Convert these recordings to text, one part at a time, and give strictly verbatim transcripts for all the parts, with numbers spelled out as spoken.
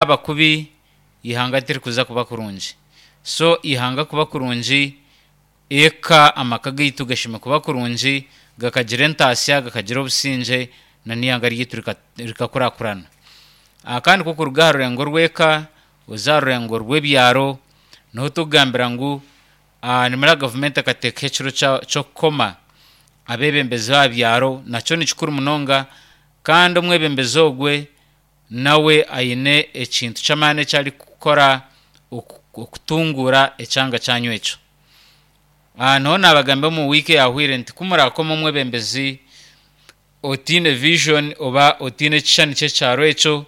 yaaba kubi, eihanga tirikuza kuba kurungi. So eihanga kuba kurungi, eka amaka gaitu gashemeriire kuba kurungi, gakagira entaasya, gakagira obusingye n'eihanga ryaitu rikakurakurana. Kandi ku orikuruga aha rurengo rw'eka oza aha rurengo rw'ebyaro, niho turikugambira ngu nimara gavumenti ekateekaho ekiro ky'okukoma abeebembezi b'aha byaro, nakyo ni kikuru munonga kandi omwebembezi ogwe nawe aine ekintu ky'amaani eki arikukora okutunguura ekyanga kyanyu ekyo. Niho naabagambira omu wiiki eyaahweire nti ku muraakoma omwebembezi otaine vision oba otaine ekishushani ky'ekyaro ekyo,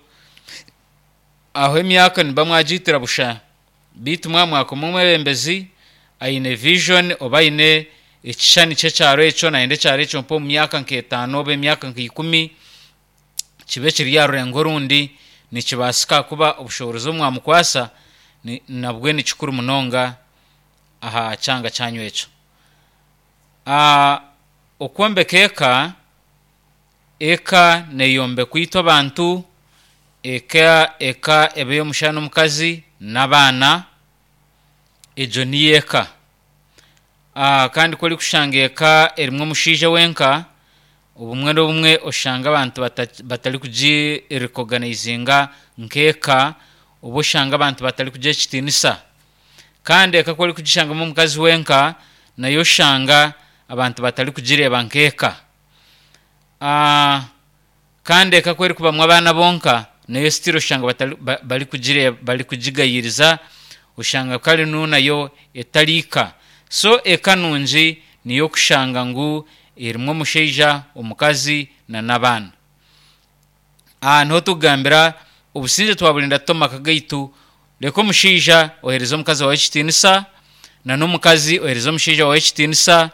aho emyaka nimuba mwagiitira busha, beitu mwaba mwakoma omwebembezi aine vision oba aine ekishushani ky'ekyaro ekyo, nayenda ekyaro ekyo mp'omu myaka nk'etaano oba emyaka nka ikumi kibe kiri aha rurengo orundi, nikibaasika kuba obushoboorozi obu mwamukwasa nabwe ni kikuru munonga aha kyanga kyanyu ekyo. Okwombeka eka, eka neeyombekwa itwe abantu, eka eka eba ey'omushaija n'omukazi n'abaana, egyo niyo eka. Kandi ku orikushanga eka erimu omushaija wenka, obumwe n'obumwe oshanga abantu batarikugirekoganizinga nk'eka oba oshanga abantu batarikugiha ekitiinisa. Kandi eka ku orikugishangamu omukazi wenka, nayo oshanga abantu batarikugireeba nk'eka. Kandi eka ku erikubamu abaana bonka, nayo still oshanga batari barikugireeba barikugigayiriza, oshanga kare nu nayo etari ka. So eka nungi niyo okushanga ngu erimu omushaija, omukazi n'abaana. Niho turikugambira obusingye twaburinda tuta omu maka gaitu, reka omushaija oheereze omukazi waawe ekitiinisa n'omukazi oheereze omushaija waawe ekitiinisa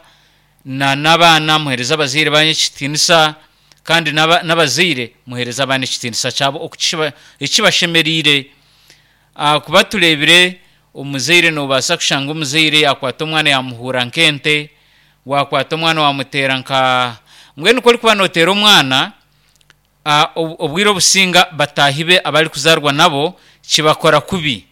n'abaana muheereze abazaire banyu ekitiinisa kandi n'abazaire muheereze abaana ekitiinisa kyabo ekibashemereire. Ahakuba tureebire omuzaire noobaasa kushanga omuzaire yaakwata omwana yaamuhuura nk'ente, waakwata omwana waamuteera nka mbwenu ku orikuba nooteera omwana, obwire obusinga bataahi be abu arikuzaarwa nabo kibakora kubi.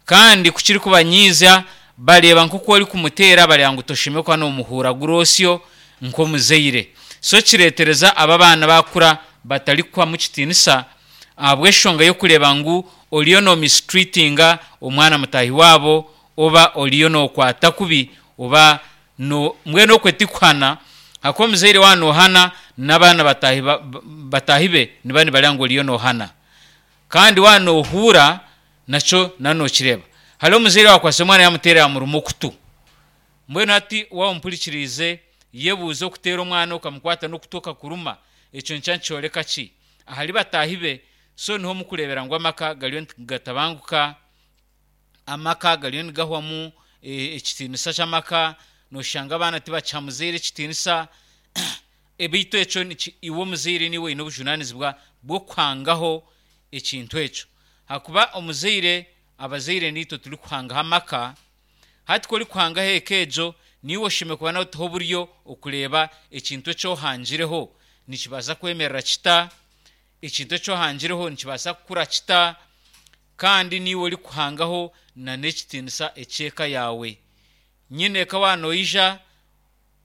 Kandi ku kirikubanyiiza bareeba nk'oku orikumuteera bareeba ngu toshemereire kuba noomuhuuragura osyo nk'omuzaire. So kireetereza abo abaana baakura batarikuhamu kitiinisa ahabw'enshonga y'okureeba ngu oriyo noomisituriitinga omwana mutaahi waabo oba oriyo nookwata kubi oba no mbwenu okwe tikuhana ahakuba omuzaire waaba noohana n'abaana bataahi bataahi be nibaba nibareeba ngu oriyo noohana. Kandi waaba noohuura nakyo nookireeba. Hariho omuzaire owaakwasire omwana yaamuteera yaamuruma okutu. Mbwenu hati waaba ompurikiriize, yebuuze okuteera omwana okamukwata n'okutu okakuruma, ekyo nikyo nikyoreka ki? Ahari bataahi be, so niho murikureebera ngu amaka gariyo nigatabanguka, amaka gariyo nigahwamu ekitiinisa ky'amaka, nooshanga abaana tibakiha muzaire ekitiinisa, beitu ekyo iwe omuzaire niiwe oine obujunaanizibwa bw'okuhangaho ekintu ekyo. Ahakuba omuzaire, abazaire niitwe turikuhangaho amaka, hati ku orikuhangaho eka egyo, niiwe oshemereire kuba nootaho oburyo okureeba ekintu eki ohangireho nikibaasa kwemerera kita, ekintu eki ohangireho nikibaasa kukura kita, kandi niiwe orikuhangaho n'ekitiinisa eky'eka yaawe. Nyine eka waaba noija,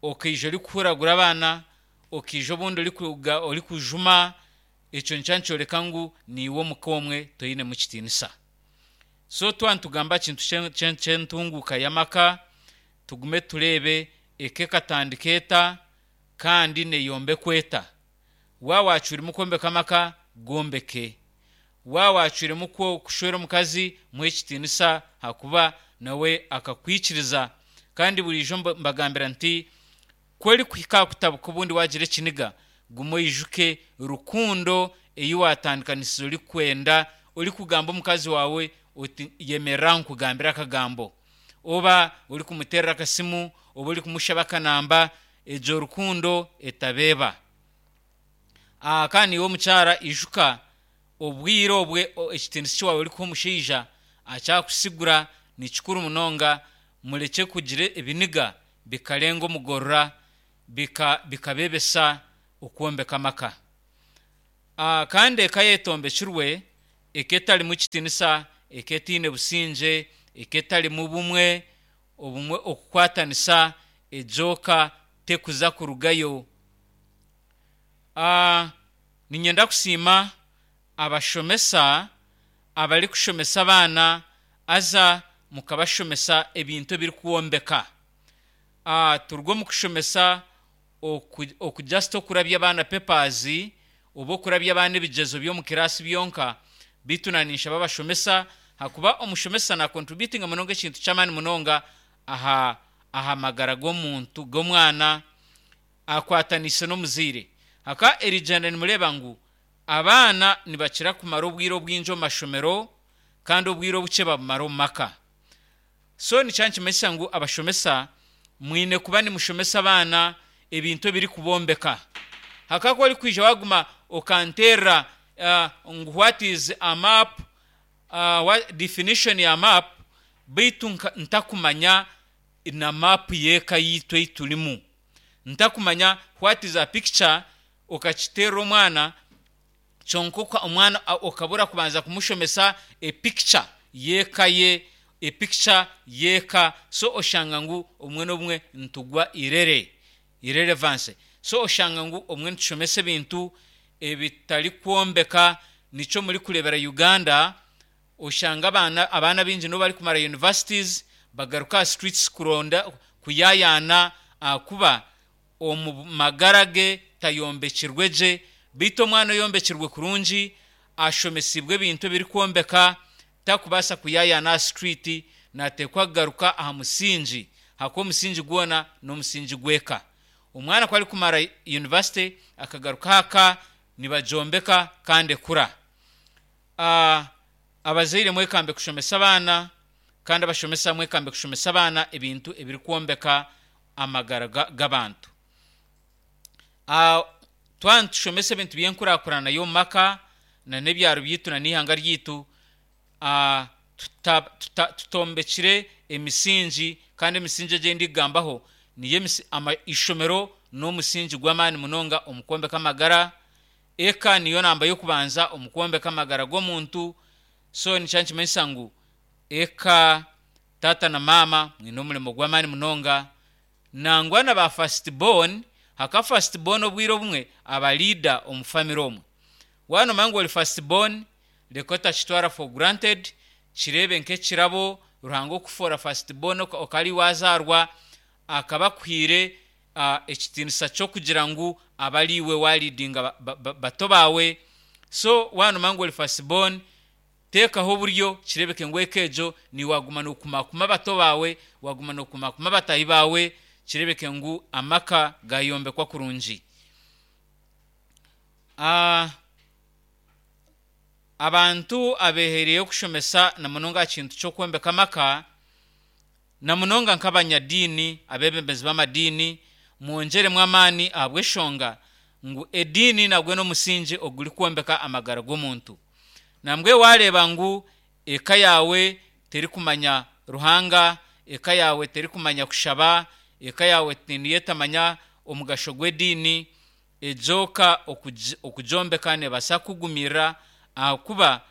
okaija orikuhuragura abaana, okaija obundi orikujuma, ekyo nikyo nikyoreka ngu niiwe omuka omwe toinemu kitiinisa. So twaba nitugamba aha kintu ky'entunguuka y'amaka, tugume tureebe eka ekatandika eta kandi neeyombekwa eta. Waaba waacwiremu kwombeka amaka, gombeke. Waaba waacwiremu kushwera omukazi, muhe ekitiinisa ahakuba nawe akakwikiriza. Kandi buriijo mbagambira nti ku orikuhika aha kutabuka obundi waagira ekiniga, guma oijuke rukundo ei waatandikanisize orikwenda, orikugamba omukazi waawe oti yemerera nkugambire akagambo. Oba orikumuteerera akasimu, oba orikumushaba akanamba, egyo rukundo etabeeba. Kandi iwe omukyara ijuka obwire obwe ekitiinisa eki waaba orikuha omushaija akyakusigura ni kikuru munonga murekye kugira ebiniga bikarenga omugorora bikabeebesa okwombeka amaka. Kandi eka yaaba etombekirwe, Eka etarimu kitiinisa, eka etaine busingye, eka etarimu bumwe, obumwe okukwatanisa, egyo ka tekuza kurugayo. Ah, niinyenda kusiima abashomesa abarikushomesa abaana haza mukabashomesa ebintu ebirikwombeka. Ah, turuga omu kushomesa oku, oku just okurabya abaana papers oba okurabya abaana ebigyezo by'omu kiraasi byonka, beitu na ninshaba abashomesa hakuba omushomesa nacontributinga munonga ekintu ky'amaani munonga aha aha magara g'omuntu g'omwana akwataniise n'omuzaire. Haka erigyenda nimureeba ngu abaana nibakira kumara obwire obwingi omu mashomero kandi obwire obukye babumara omu maka. So nikyo nikimanyisa ngu abashomesa mwine kuba nimushomesa abaana ebintu ebirikubombeka. Haka ku orikwija waguma okanterera uh, ngu what is a map, uh, what definition ya map, beitu ntakumanya na map y'eka yiitu ei turimu, ntakumanya what is a picture, okakiteerera omwana kyonka omwana okabura kubanza kumushomesa epicture y'eka ye, epicture y'eka, so oshanga ngu obumwe n'obumwe nitugwa irere, irrelevance. So oshanga ngu obumwe nitushomesa ebintu ebitarikwombeka. Nikyo murikureebera Uganda oshanga abaana abaana baingi n'obu barikumara universities bagaruka aha streets kuronda kuyayaana, ahakuba omu magara ge tayombekirwe gye. Beitu omwana oyombekirwe kurungi, ashomesibwe ebintu ebirikwombeka, takubaasa kuyayaana aha street, nateekwa kugaruka aha musingi, ahakuba omusingi gwona n'omusingi gw'eka. Omwana ku arikumara university akagaruka aha nibagyombeka kandi ekura. Uh, abazaire mwekambe kushomesa abaana, kandi abashomesa mwekambe kushomesa abaana ebintu ebirikwombeka amagara g'abantu. Uh, twaba nitushomesa ebintu by'enkurakurana y'omu maka na n'ebyaro byaitu na n'eihanga ryaitu, uh, tutombekire emisingi, kandi emisingi egi ndikugambaho niyo ishomero n'omusingi gw'amaani munonga omu kwombeka amagara, eka niyo namba y'okubanza omu kwombeka amagara g'omuntu. So nikyo nikimanyisa ngu eka, taata na maama, mwine omurimo gw'amaani munonga, nangwa na ba first born. Haka first born obwire obumwe aba leader omu family omwe. Waaba noomanya ngu ori first born, reka otakitwara for granted, kireebe nk'ekirabo Ruhanga okufoora first born okaba wazaarwa, akaba akuhaire uh, ekitiinisa ky'okugira ngu aba ari iwe waleadinga bato baawe. So waaba noomanya ngu ori first born, teekaho oburyo kireebeke ngu eka egyo niiwe waguma nookumakuma abato baawe, waguma nookumakuma abataahi baawe, kireebeke ngu amaka gayombekwa kurungi. Uh, abantu abeehereireyo kushomesa na munonga aha kintu ky'okwombeka amaka, na munonga nk'abanyadiini, abeebembezi b'amadiini, mwongyeremu amaani, ahabw'eshonga ngu ediini nagwo n'omusingi ogurikwombeka amagara g'omuntu. Nambwe wareeba ngu eka yaawe terikumanya Ruhanga, eka yaawe terikumanya kushaba, eka yaawe niyo etamanya omugasho gw'ediini, egyo ka okugyombeka neebaasa kukugumirira, ahakuba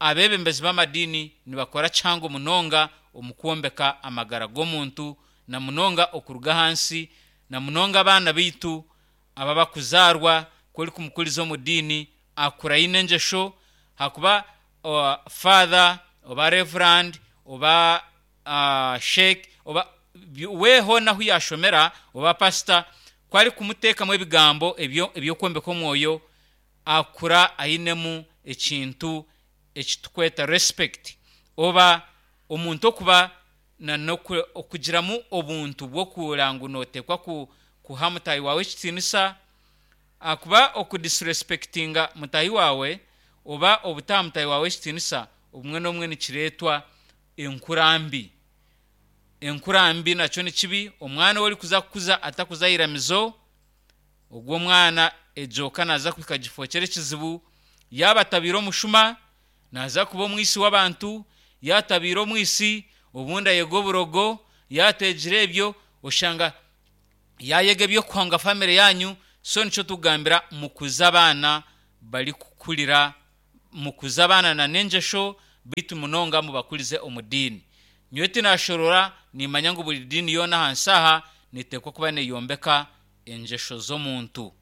abeebembezi b'amadiini nibakora kihango munonga omu kwombeka amagara g'omuntu, na munonga okuruga ahansi, na munonga abaana baitu aba bakuzaarwa. Ku orikumukuriza omu diini akura aine engyesho, hakuba uh, father oba reverend oba uh, sheikh oba we hoona ahu yashomera oba pastor, ku arikumuteekamu ebigambo eby'okwombeka omwoyo, akura ainemu ekintu ekitukweta respect, oba omuntu okuba okugiramu obuntu bw'okuhurira ngu nooteekwa kuha mutaahi waawe ekitiinisa, ahakuba okudisrespectinga mutaahi waawe oba obutaha mutaahi waawe ekitiinisa obumwe n'obumwe nikireetwa enkura mbi. Enkura mbi nakyo ni kibi. Omwana ou orikuza kukuza atakuza aha iramizo, ogwo omwana egyo ka naaza kuhika gifokyere ekizibu. Yaaba atabiire omushuma, naaza kuba omwisi w'abantu. Yaatabiire omwisi, obundi ayega oburogo. Yaateegire ebyo, oshanga yaayega eby'okuhonga family yanyu. So nikyo tukugambira, mukuze abaana barikukurira Mukuze abaana na n'engyesho, beitu munonga mubakurize omu diini. Nyowe tinashorora, nimanya ngu buri diini yoona ahansi aha neteekwa kuba neyombeka engyesho z'omuntu,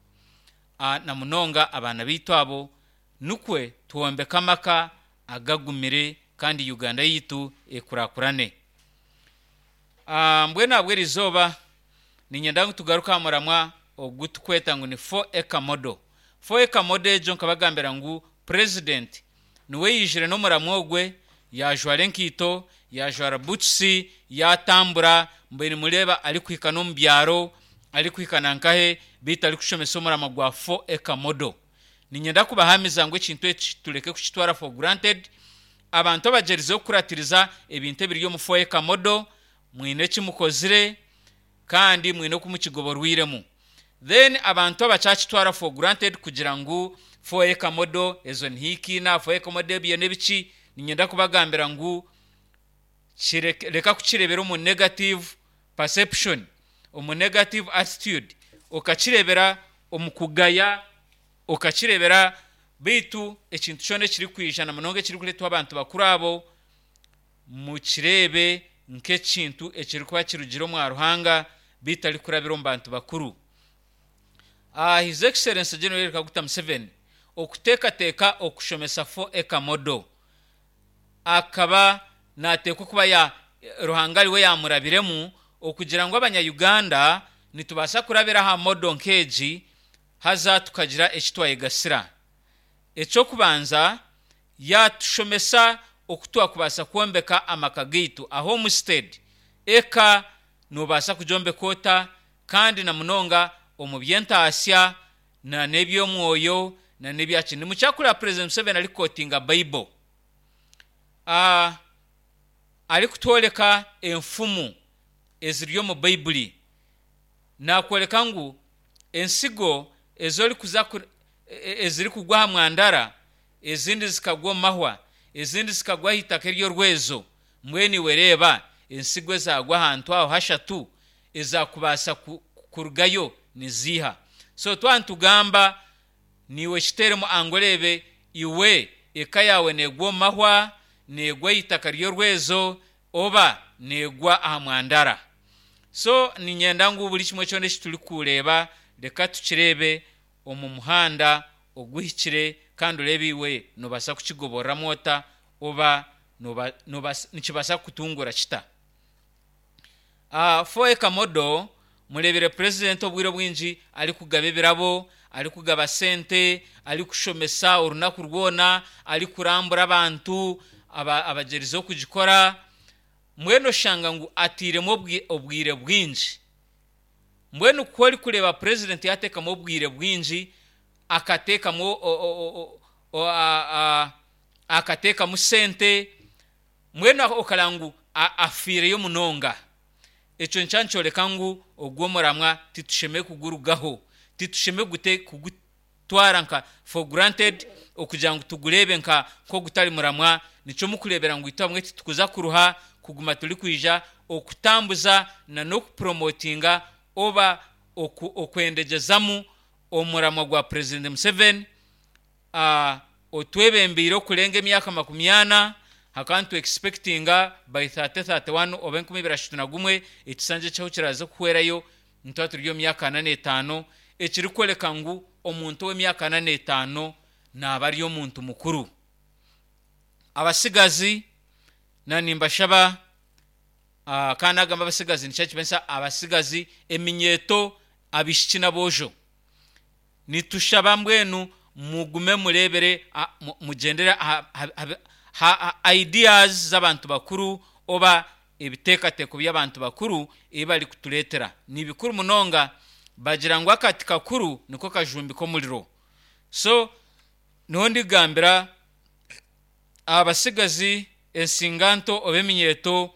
na munonga abaana baitu abo, nikwe twombeke amaka agagumire kandi Uganda yaitu ekurakurane. Mbwenu ahabwa erizooba niinyenda ngu tugaruke aha muramwa ogu turikweta ngu ni four acre model. Four acre model egyo nkabagambira ngu Purezidenti niwe yaijire n'omuramwa ogwe, yaajwara enkaito, yaajwara butusi, yaatambura, mbwenu nimureeba arikuhika n'omu byaro, arikuhika na nkahe, beitu arikushomesa omuramwa gwa four acre model. Niinyenda kubahamiza ngu ekintu eki tureke kukitwara for granted. Abantu abagyerizeho kukuratiriza ebintu ebiri omu four acre model, mwine eki mukozire kandi mwine oku mukigoborwiremu. Then abantu abakyakitwara for granted kugira ngu four acre model ezo nihikiina, four acre model ebyo n'ebiki, niinyenda kubagambira ngu reka kukireebera omu negative perception, omu negative attitude, okakireebera omu kugaya, okakireebera, beitu ekintu kyona ekirikwija na munonga ekirikureetwa abantu bakuru abo, mukireebe nk'ekintu ekirikuba kirugire omwa Ruhanga beitu arikurabira omu bantu bakuru. His Excellency General Yoweri Kaguta Museveni okuteekateeka okushomesa four acre model, akaba naateekwa kuba ya Ruhanga ariwe yaamurabiremu okugira ngu abanya-Uganda nitubaasa kurabira aha model nk'egi haza tukagira eki twayegasira. Eky'okubanza, yaatushomesa oku twakubaasa kwombeka amaka gaitu, a homestead. Eka noobaasa kugyombeka ota kandi na munonga omu by'entaasya na n'eby'omwoyo na n'ebyaki. Nimukyakureba President Museveni arikukotinga Bible, arikutworeka enfumu eziri omu Baibuli. Naakworeka ngu ensigo ezi orikuza ezirikugwa aha mwandara, ezindi zikagwa omu mahwa, ezindi zikagwa aha itaka ery'orwezo, mbwenu iwe reeba ensigo ezaagwa ahantu aho hashatu ezaakubaasa kurugayo niziiha? So twaba nitugamba niiwe kiteeremu angu oreebe iwe eka yaawe neegwa omu mahwa, neegwa aha itaka ry'orwezo oba neegwa aha mwandara. So niinyenda ngu buri kimwe kyona eki turikureeba reka tukireebe omu muhanda oguhikire kandi oreebe iwe noobaasa kukigoboreramu ota oba nikibaasa kukutunguura kita. Four acre model, mureebire Purezidenti obwire obwingi arikugaba ebirabo, arikugaba sente, arikushomesa orunaku rwona, arikurambura abantu abagyerizeho kugikora, mbwenu oshanga ngu atairemu obwire bwingi. Mbwenu ku orikureeba Purezidenti yaateekamu obwire bwingi, akateekamu akateekamu sente, mbwenu okareeba ngu afiireyo munonga. Ekyo nikyo nikyoreka ngu ogu omuramwa titushemereire kugurugaho, titushemereire kugutwara nka for granted okugira ngu tugureebe nka nk'ogutari muramwa. Nikyo murikureebera ngu itwe abamwe titukuza kuruha kuguma turikwija okutambuza na n'okupromotinga oba okwendegyezamu omuramwa gwa Purezidenti Museveni otwebembeire okurenga emyaka makumi ana. Hakaba nitu expectinga by thirty thirty one oba enkumi ibiri ashatu na gumwe ekisanja eki ahu kiraaze kuhwerayo nituba turi omu myaka ana n'etaano, ekirikworeka ngu omuntu ow'emyaka ana n'etaano naaba ari omuntu mukuru. Abatsigazi na nimbashaba, kandi nagamba abatsigazi nikyo nikimanyisa abatsigazi, eminyeeto, abaishiki n'aboojo, nitushaba mbwenu mugume mureebere, mugyendere aha ideas z'abantu bakuru oba ebiteekateeko by'abantu bakuru ebi barikutureetera. Ni bikuru munonga. Bagira ngu akati kakuru niko kajumbika omuriro. So niho ndigambira abatsigazi, ensinganto oba eminyeeto,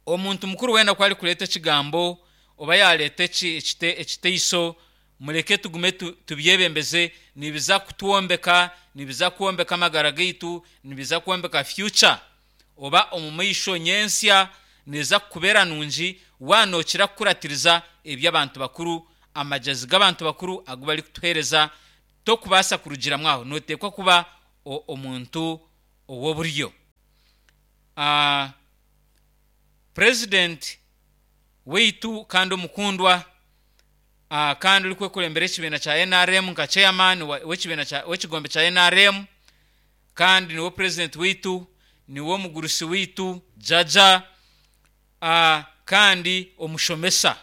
omuntu mukuru weena ku arikureeta ekigambo oba yaareeta ekiteiso, mureke tugume tubyebembeze. Nibiza kutwombeka, nibiza kwombeka amagara gaitu, nibiza kwombeka future oba omu maisho nyentsya neeza kukubeera nungi waaba nookira kukuratiriza eby'abantu bakuru, amagyezi g'abantu bakuru agu barikutuheereza. Tokubaasa kurugiramu aho, nooteekwa kuba omuntu ow'oburyo. Uh, president waitu kandi omukundwa, uh, kandi orikwekurembera ekibiina kya N R M nka chairman w'ekibiina kya w'ekigombe kya N R M, kandi niwe president waitu, niwe omugurusi waitu jaja, uh, kandi omushomesa.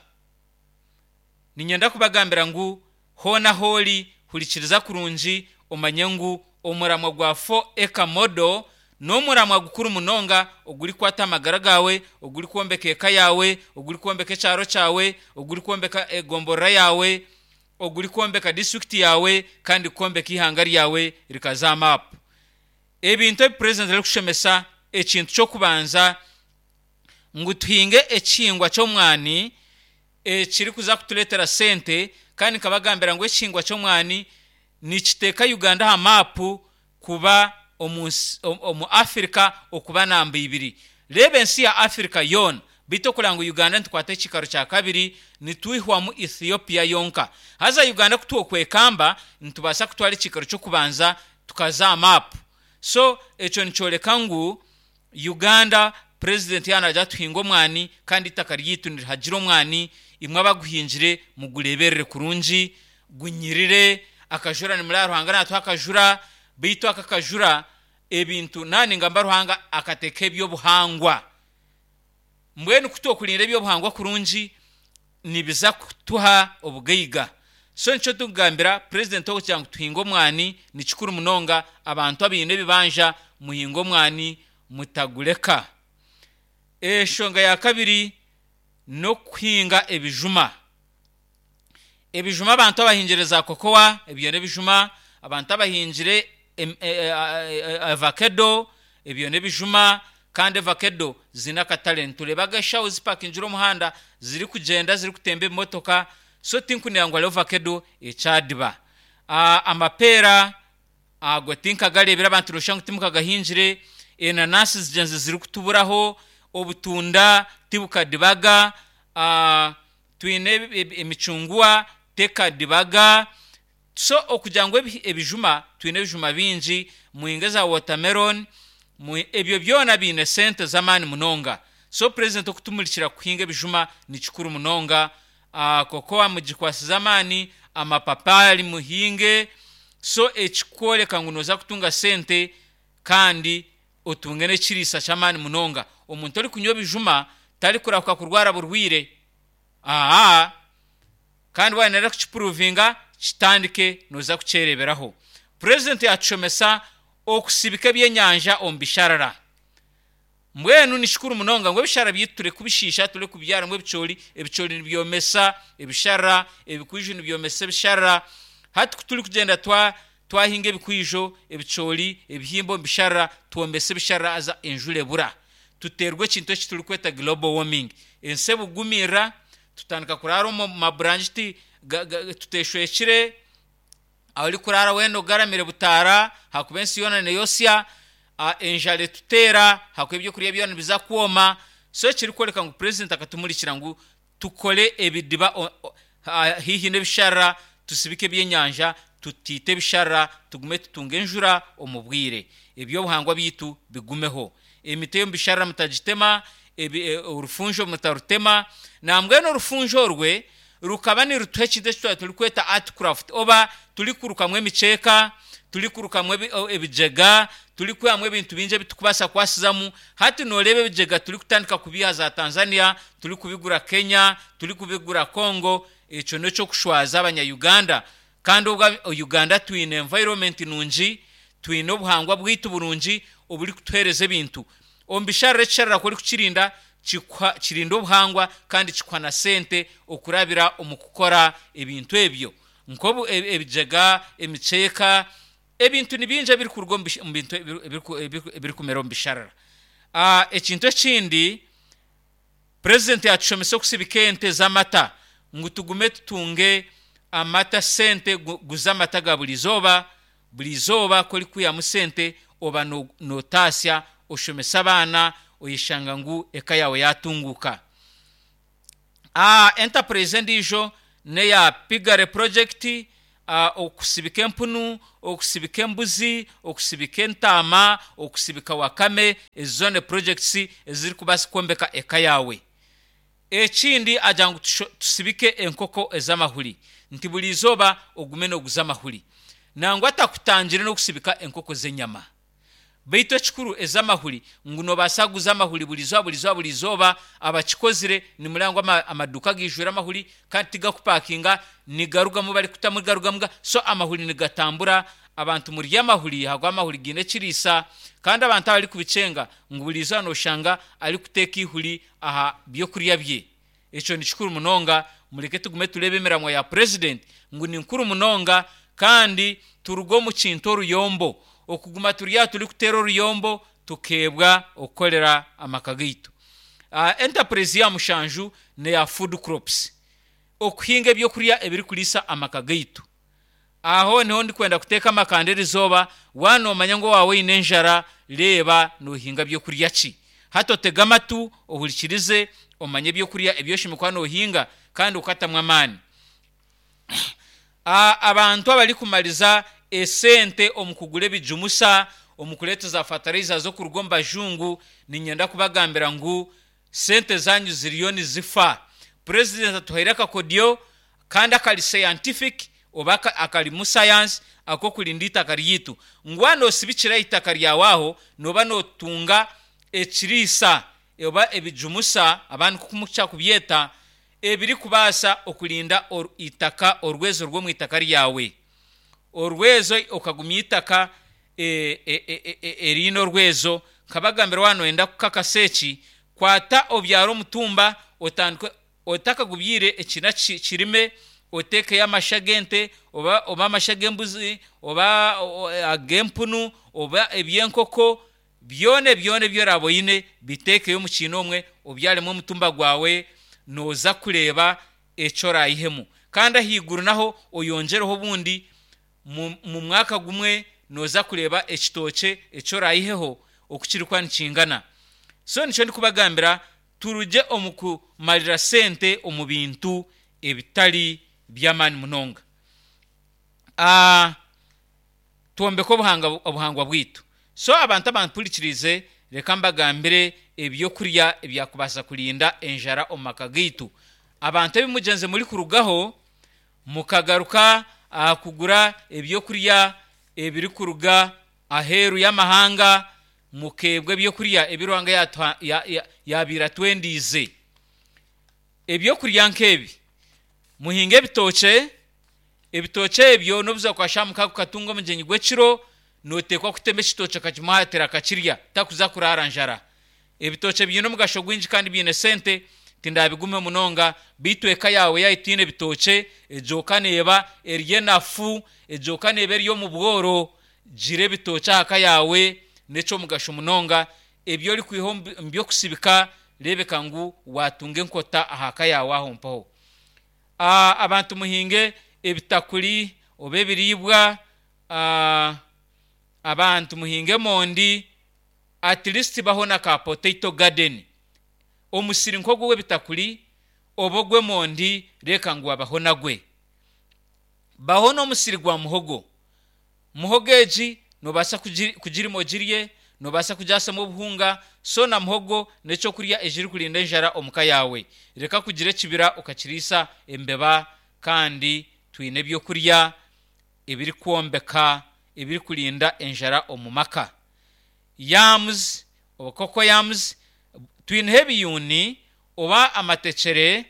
Ninyenda kubagambira ngu hoona hooli hurikiriza kurungi, omanye ngu omuramwa gwa four acre model n'omuramwa gukuru munonga ogurikwata amagara gawe, ogurikwombeka eka yawe, ogurikwombeka ekyaro kyawe, ogurikwombeka egomborora yawe, ogurikwombeka district yawe, kandi kwombeka ihanga ryawe rikaza map. Ebintu ebi president arikushomesa, ekintu ky'okubanza ngu tuhinge ekihingwa ky'omwani ekirikuza kutuleetera sente, kandi nkabagambira ngu ekihingwa ky'omwani nikiteeka Uganda aha mapu kuba omu, omu Afrika okuba namba ibiri. Reeba ensi ya Afrika yoona, beitu okuranga ngu Uganda nitukwata ekikaro kya kabiri, nitwihwamu Ethiopia yonka. Haza Uganda kutwokwekamba nitubaasa kutwara ekikaro ky'okubanza tukaza mapu. So ekyo nikyoreka ngu Uganda president yanaija tuhinga omwani, kandi itaka ryitu nirihagira omwani, imwe abaguhingire mugureberere kurungi, gunyirire, akajura nimuraba Ruhanga natuha akajura, beitu aka kajura ebintu nani ngamba Ruhanga akateeka ebyobuhangwa. Mbwenu kutokurinda ebyobuhangwa kurungi nibiza kutuha obugaiga. So nikyo tukugambira president okugira ngu tuhinge omwani ni kikuru munonga, abantu abaine ebibanja muhinge omwani mutagureka. Enshonga ya kabiri n'okuhinga ebijuma. Ebijuma abantu abahingire za kokoa, ebyo n'ebijuma, abantu abahingire avocado, ebyo n'ebijuma, kandi avocado zine akatare. Nitureeba eshaho zipakingire omuhanda zirikugyenda zirikutemba ebimotoka, so tinkunira ngu hariho avocado ekyadiba. Amapeera ago tinkagareebire, abantu noshusha ngu timukagahingire, enanasi zigyenzi zirikutuburaho, obutunda tibukadibaga, twine emicungwa tekadibaga. So okugira ngu ebijuma, twine ebijuma bingi, muhinge za watermelon, ebyo byona biine sente z'amaani munonga. So president okutumurikira kuhinga ebijuma ni kikuru munonga. Kokoa mugikwasize amaani, amapapari muhinge. So ekikworeka ngu noza kutunga sente kandi otunge n'ekiriisa ky'amaani munonga. Omuntu orikunywa ebijuma tarikurahuka kurwara burwire. Aa, kandi wayenda kukipuruvinga kitandike noza kukyereberaho. President yatushomesa okusibika ebyenyanja omu bisharara. Mbwenu ni kikuru munonga ngu ebisharara byaitu ture kubishiisha, ture kubyaramu ebicoori, ebicoori nibyomesa ebisharara, ebikwijo nibyomesa ebisharara. Hati ku turikugyenda twa twahinga ebikwijo, ebicoori, ebihimba omu bisharara, twombesa ebisharara haza enjura ebura. Tuteerwa ekintu eki turikweta global warming. Ensi ebugumirira, tutandika kuraara omu maburangiti tuteshwekire, aho orikurara weena ogaramire butaara, hakuba ensi yoona neyosya, enjara etuteera, hakuba ebyokurya byona nibiza kwoma. So ekirikworeka ngu president akatumurikira ngu tukore ebidiba haihi n'ebisharara, tusibike ebyenyanja, tutiite ebisharara, tugume tutunge enjura omu bwire. Ebyobuhangwa byaitu bigumeho. Emiti ey'omu bisharara mutagitema, orufunjo mutarutema. Nambwenu orufunjo orwe rukaba nirutuha ekintu eki twaba turikweta art craft, oba turikurukamu emikyeka, turikurukamu ebijega, turikwihamu ebintu bingi ebitukubaasa kukwasizamu. Hati nooreeba ebijega turikutandika kubiiha za Tanzania, turikubigura Kenya, turikubigura Congo. Ekyo n'ekyokushwaza abanya-Uganda. Kandi obwo Uganda twine environment nungi, twine obuhangwa bwaitu burungi oburikutuheereza ebintu. Omu bisharara ekisharara ku orikukirinda kirinda obuhangwa kandi kikuha na sente okurabira omu kukora ebintu ebyo. Nk'obu ebijega, emikyeka, ebintu ni bingi ebirikuruga omu bintu ebirikumera omu bisharara. Ekintu ekindi, president yatushomesa okusibika ente z'amata ngu tugume tutunge amata sente, guza amata ga buri izooba, buri izooba ku orikwihamu sente oba notaasya, oshomesa abaana, oyeshanga ngu eka yawe yatunguuka. Enterprise endiijo n'eya Piggery project. Okusibika empunu, okusibika embuzi, okusibika entaama, okusibika wakame, ezo zoona projects ezirikubaasa kwombeka eka yaawe. Ekindi, agira ngu tusibike enkoko ez'amahuri, nti buri izooba ogume nooguza amahuri. Nangwa atakutangire n'okusibika enkoko z'enyama, beitu ekikuru ez'amahuri, ngu noobaasa kuguza amahuri buri izooba, buri izooba, buri izooba. Abakikozire nimureba ngu amaduuka gaijwire amahuri, kandi tigakupakinga, nigarugamu barikutamu, garugamu. So amahuri nigatambura. Abantu murye amahuri, ahabw'okuba amahuri gaine ekiriisa. Kandi abantu abarikubikyenga ngu buri izooba nooshanga arikuteeka eihuri aha byokurya bye. Ekyo ni kikuru munonga. Mureke tugume tureebe emiramwa ya purezidenti ngu ni nkuru munonga, kandi turuge omu kintu oruyombo, okuguma turi aha turikuteera oruyombo tukeebwa okukorera amaka gaitu. Enterprise ya mushanju neya food crops, okuhinga ebyokurya ebirikuriisa amaka gaitu. Aho niho ndikwenda kuteeka amakanda erizooba. Waaba noomanya ngu owaawe oine enjara, reeba noohinga byokurya ki. Hati otege amatu, ohurikirize, omanye ebyokurya ebi oshemereire kuba noohinga kandi okatamu amaani. Abantu abarikumariza esente omu kugura ebijumusa, omu kureeta za fertilizer z'okuruga omu bajungu, niinyenda kubagambira ngu sente zanyu ziriyo nizifa. Purezidenti atuhaire akakodyo kandi akari scientific oba akarimu science ak'okurinda eitaka ryaitu, ngu waaba noosibikira eitaka ryawe aho, nooba nootunga ekiriisa oba ebijumusa, abandi nk'oku mukukira kubyeta, ebirikubaasa okurinda eitaka, orwezo rw'omu itaka ryawe, orwezo okagumya eitaka eriine orwezo. Nkabagambira, waaba nooyenda kukakasa eki, kwata obyare omutumba, otandike otakagubyaire ekiina kirime, oteekeyo amasha g'ente oba oba amasha g'embuzi oba ag'empunu oba eby'enkoko, byona byona ebi oraabe oine biteekeyo omu kiina omwe, obyaremu omutumba gwawe, nooza kureeba eki oraayihemu. Kandi ahaiguru naho oyongyereho obundi, mu mwaka gumwe nooza kureeba ekitookye eki oraayiheho oku kirikuba nikingana. So nikyo ndikubagambira, turugye omu kumarira sente omu bintu ebitari by'amaani munonga, twombeke obuhangwa bwaitu. So abantu abampurikiriize, reka mbagambire ebyokurya ebyakubaasa kurinda enjara omu maka gaitu. Abantu ebi mugyenzi murikurugaho mukagaruka aha kugura ebyokurya ebirikuruga aheeru y'amahanga, mukeebwa ebyokurya ebi Ruhanga yaabaire atwendiize. Ebyokurya nk'ebi: muhinge ebitookye. Ebitookye ebyo n'obuza kwasha mukaaga ukatunga omugyenyi gw'ekiro, nooteekwa kutema ekitookye okakimuhaatira akakirya, takuza kuraara njara. Ebitookye biine omugasho gwingi kandi biine sente, tindabigume munonga, beitu eka yaawe yaaba etiine ebitookye, egyoka neeba eri enafu, egyoka neeba eri omu bworo. Gira ebitookye aha ka yaawe, n'eky'omugasho munonga. Ebi orikwiha omu by'okusibika, reebeka ngu waatunga enkota aha ka yaawe aho mpaho. Abantu muhinge ebitakuri oba ebiriibwa, abantu muhinge emondi, at least baho na ka potato garden, omusiri nk'ogu ogw'ebitakuri oba ogw'emondi, reeka ngu wabaho nagwe. Baho n'omusiri gwa muhogo. Muhogo egi noobaasa kugirima ogirye, noobaasa kugyasamu obuhunga. So na muhogo n'ekyokurya ekirikurinda enjara omu ka yaawe. Reka kugira ekibira okakiriisa embeba kandi twine ebyokurya ebirikwombeka, ebirikurinda enjara omu maka. Yams oba cocoyams, twineho ebiyuuni oba amatekyere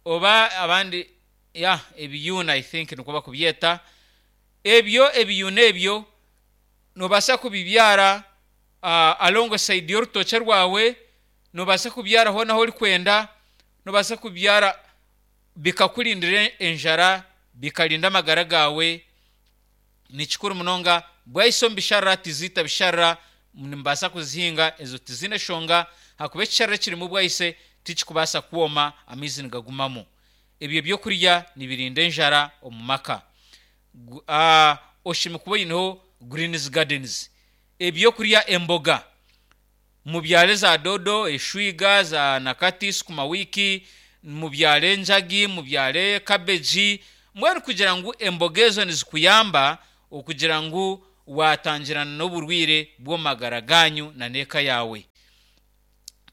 oba abandi ya ebiyuuni, I think nikwo bakubyeta ebyo. Ebiyuuni ebyo noobaasa kubibyara alongside y'orutookye rwawe, noobaasa kubyara hoona ahu orikwenda, noobaasa kubyara bikakurindira enjara, bikarinda amagara gaawe. Ni kikuru munonga. Bwahisa omu bisharara, tiziita bisharara, nimubaasa kuzihinga, ezo tiziine shonga, ahakuba ekisharara ekirimu bwahise tikikubaasa kwoma, amaizi nigagumamu. Ebyo byokurya nibirinda enjara omu maka. Oshemereire kuba oineho greens gardens, ebyokurya emboga, mubyare za doodo, eshwiga, za nakati, sukuma wiki, mubyare enjagi, mubyare cabbage. Mbwenu kugira ngu emboga ezo nizikuyamba okugira ngu watangirana n'oburwire bw'omagara ganyu na n'eka yawe.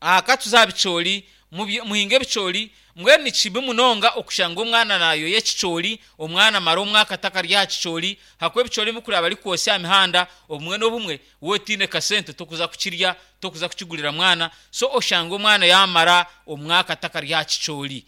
Aha tuza aha bicoori, muhinge ebicoori. Mbwenu ni kibi munonga okushanga omwana nayoya ekicoori, omwana amara omwaka atakarya aha kicoori, ahakuba ebicoori ebi barikwotsya aha mihanda, obumwe n'obumwe waaba otiine kasente tokuza kukirya, tokuza kukigurira mwana, so oshanga omwana yaamara omwaka atakarya aha kicoori.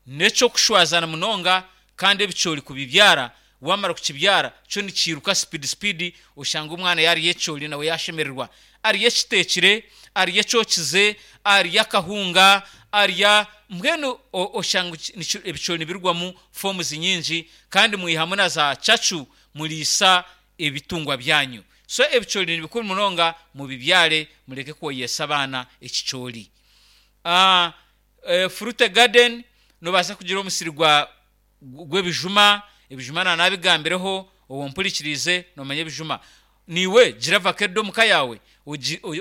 N'eky'okushwazana munonga. Kandi ebicoori kubibyara, wamara kukibyara kyo nikiiruka speed speed, oshanga omwana yaarya ekicoori nawe yaashemererwa. Arya ekiteekire, arya ekyokize, arya akahunga, arya mbwenu oshanga ebicoori nibirugwamu forms nyingi, kandi mwihamu na za cacu muriisa ebitungwa byanyu. So ebicoori ni bikuru munonga, mubibyare, mureke kwoyesa abaana ekicoori. Fruit garden, noobaasa kugira omusiri gwa gw'ebijuma. Ebijuma naanabigambireho, ompurikiriize noomanya ebijuma. Niiwe gira vakedo omuka yaawe,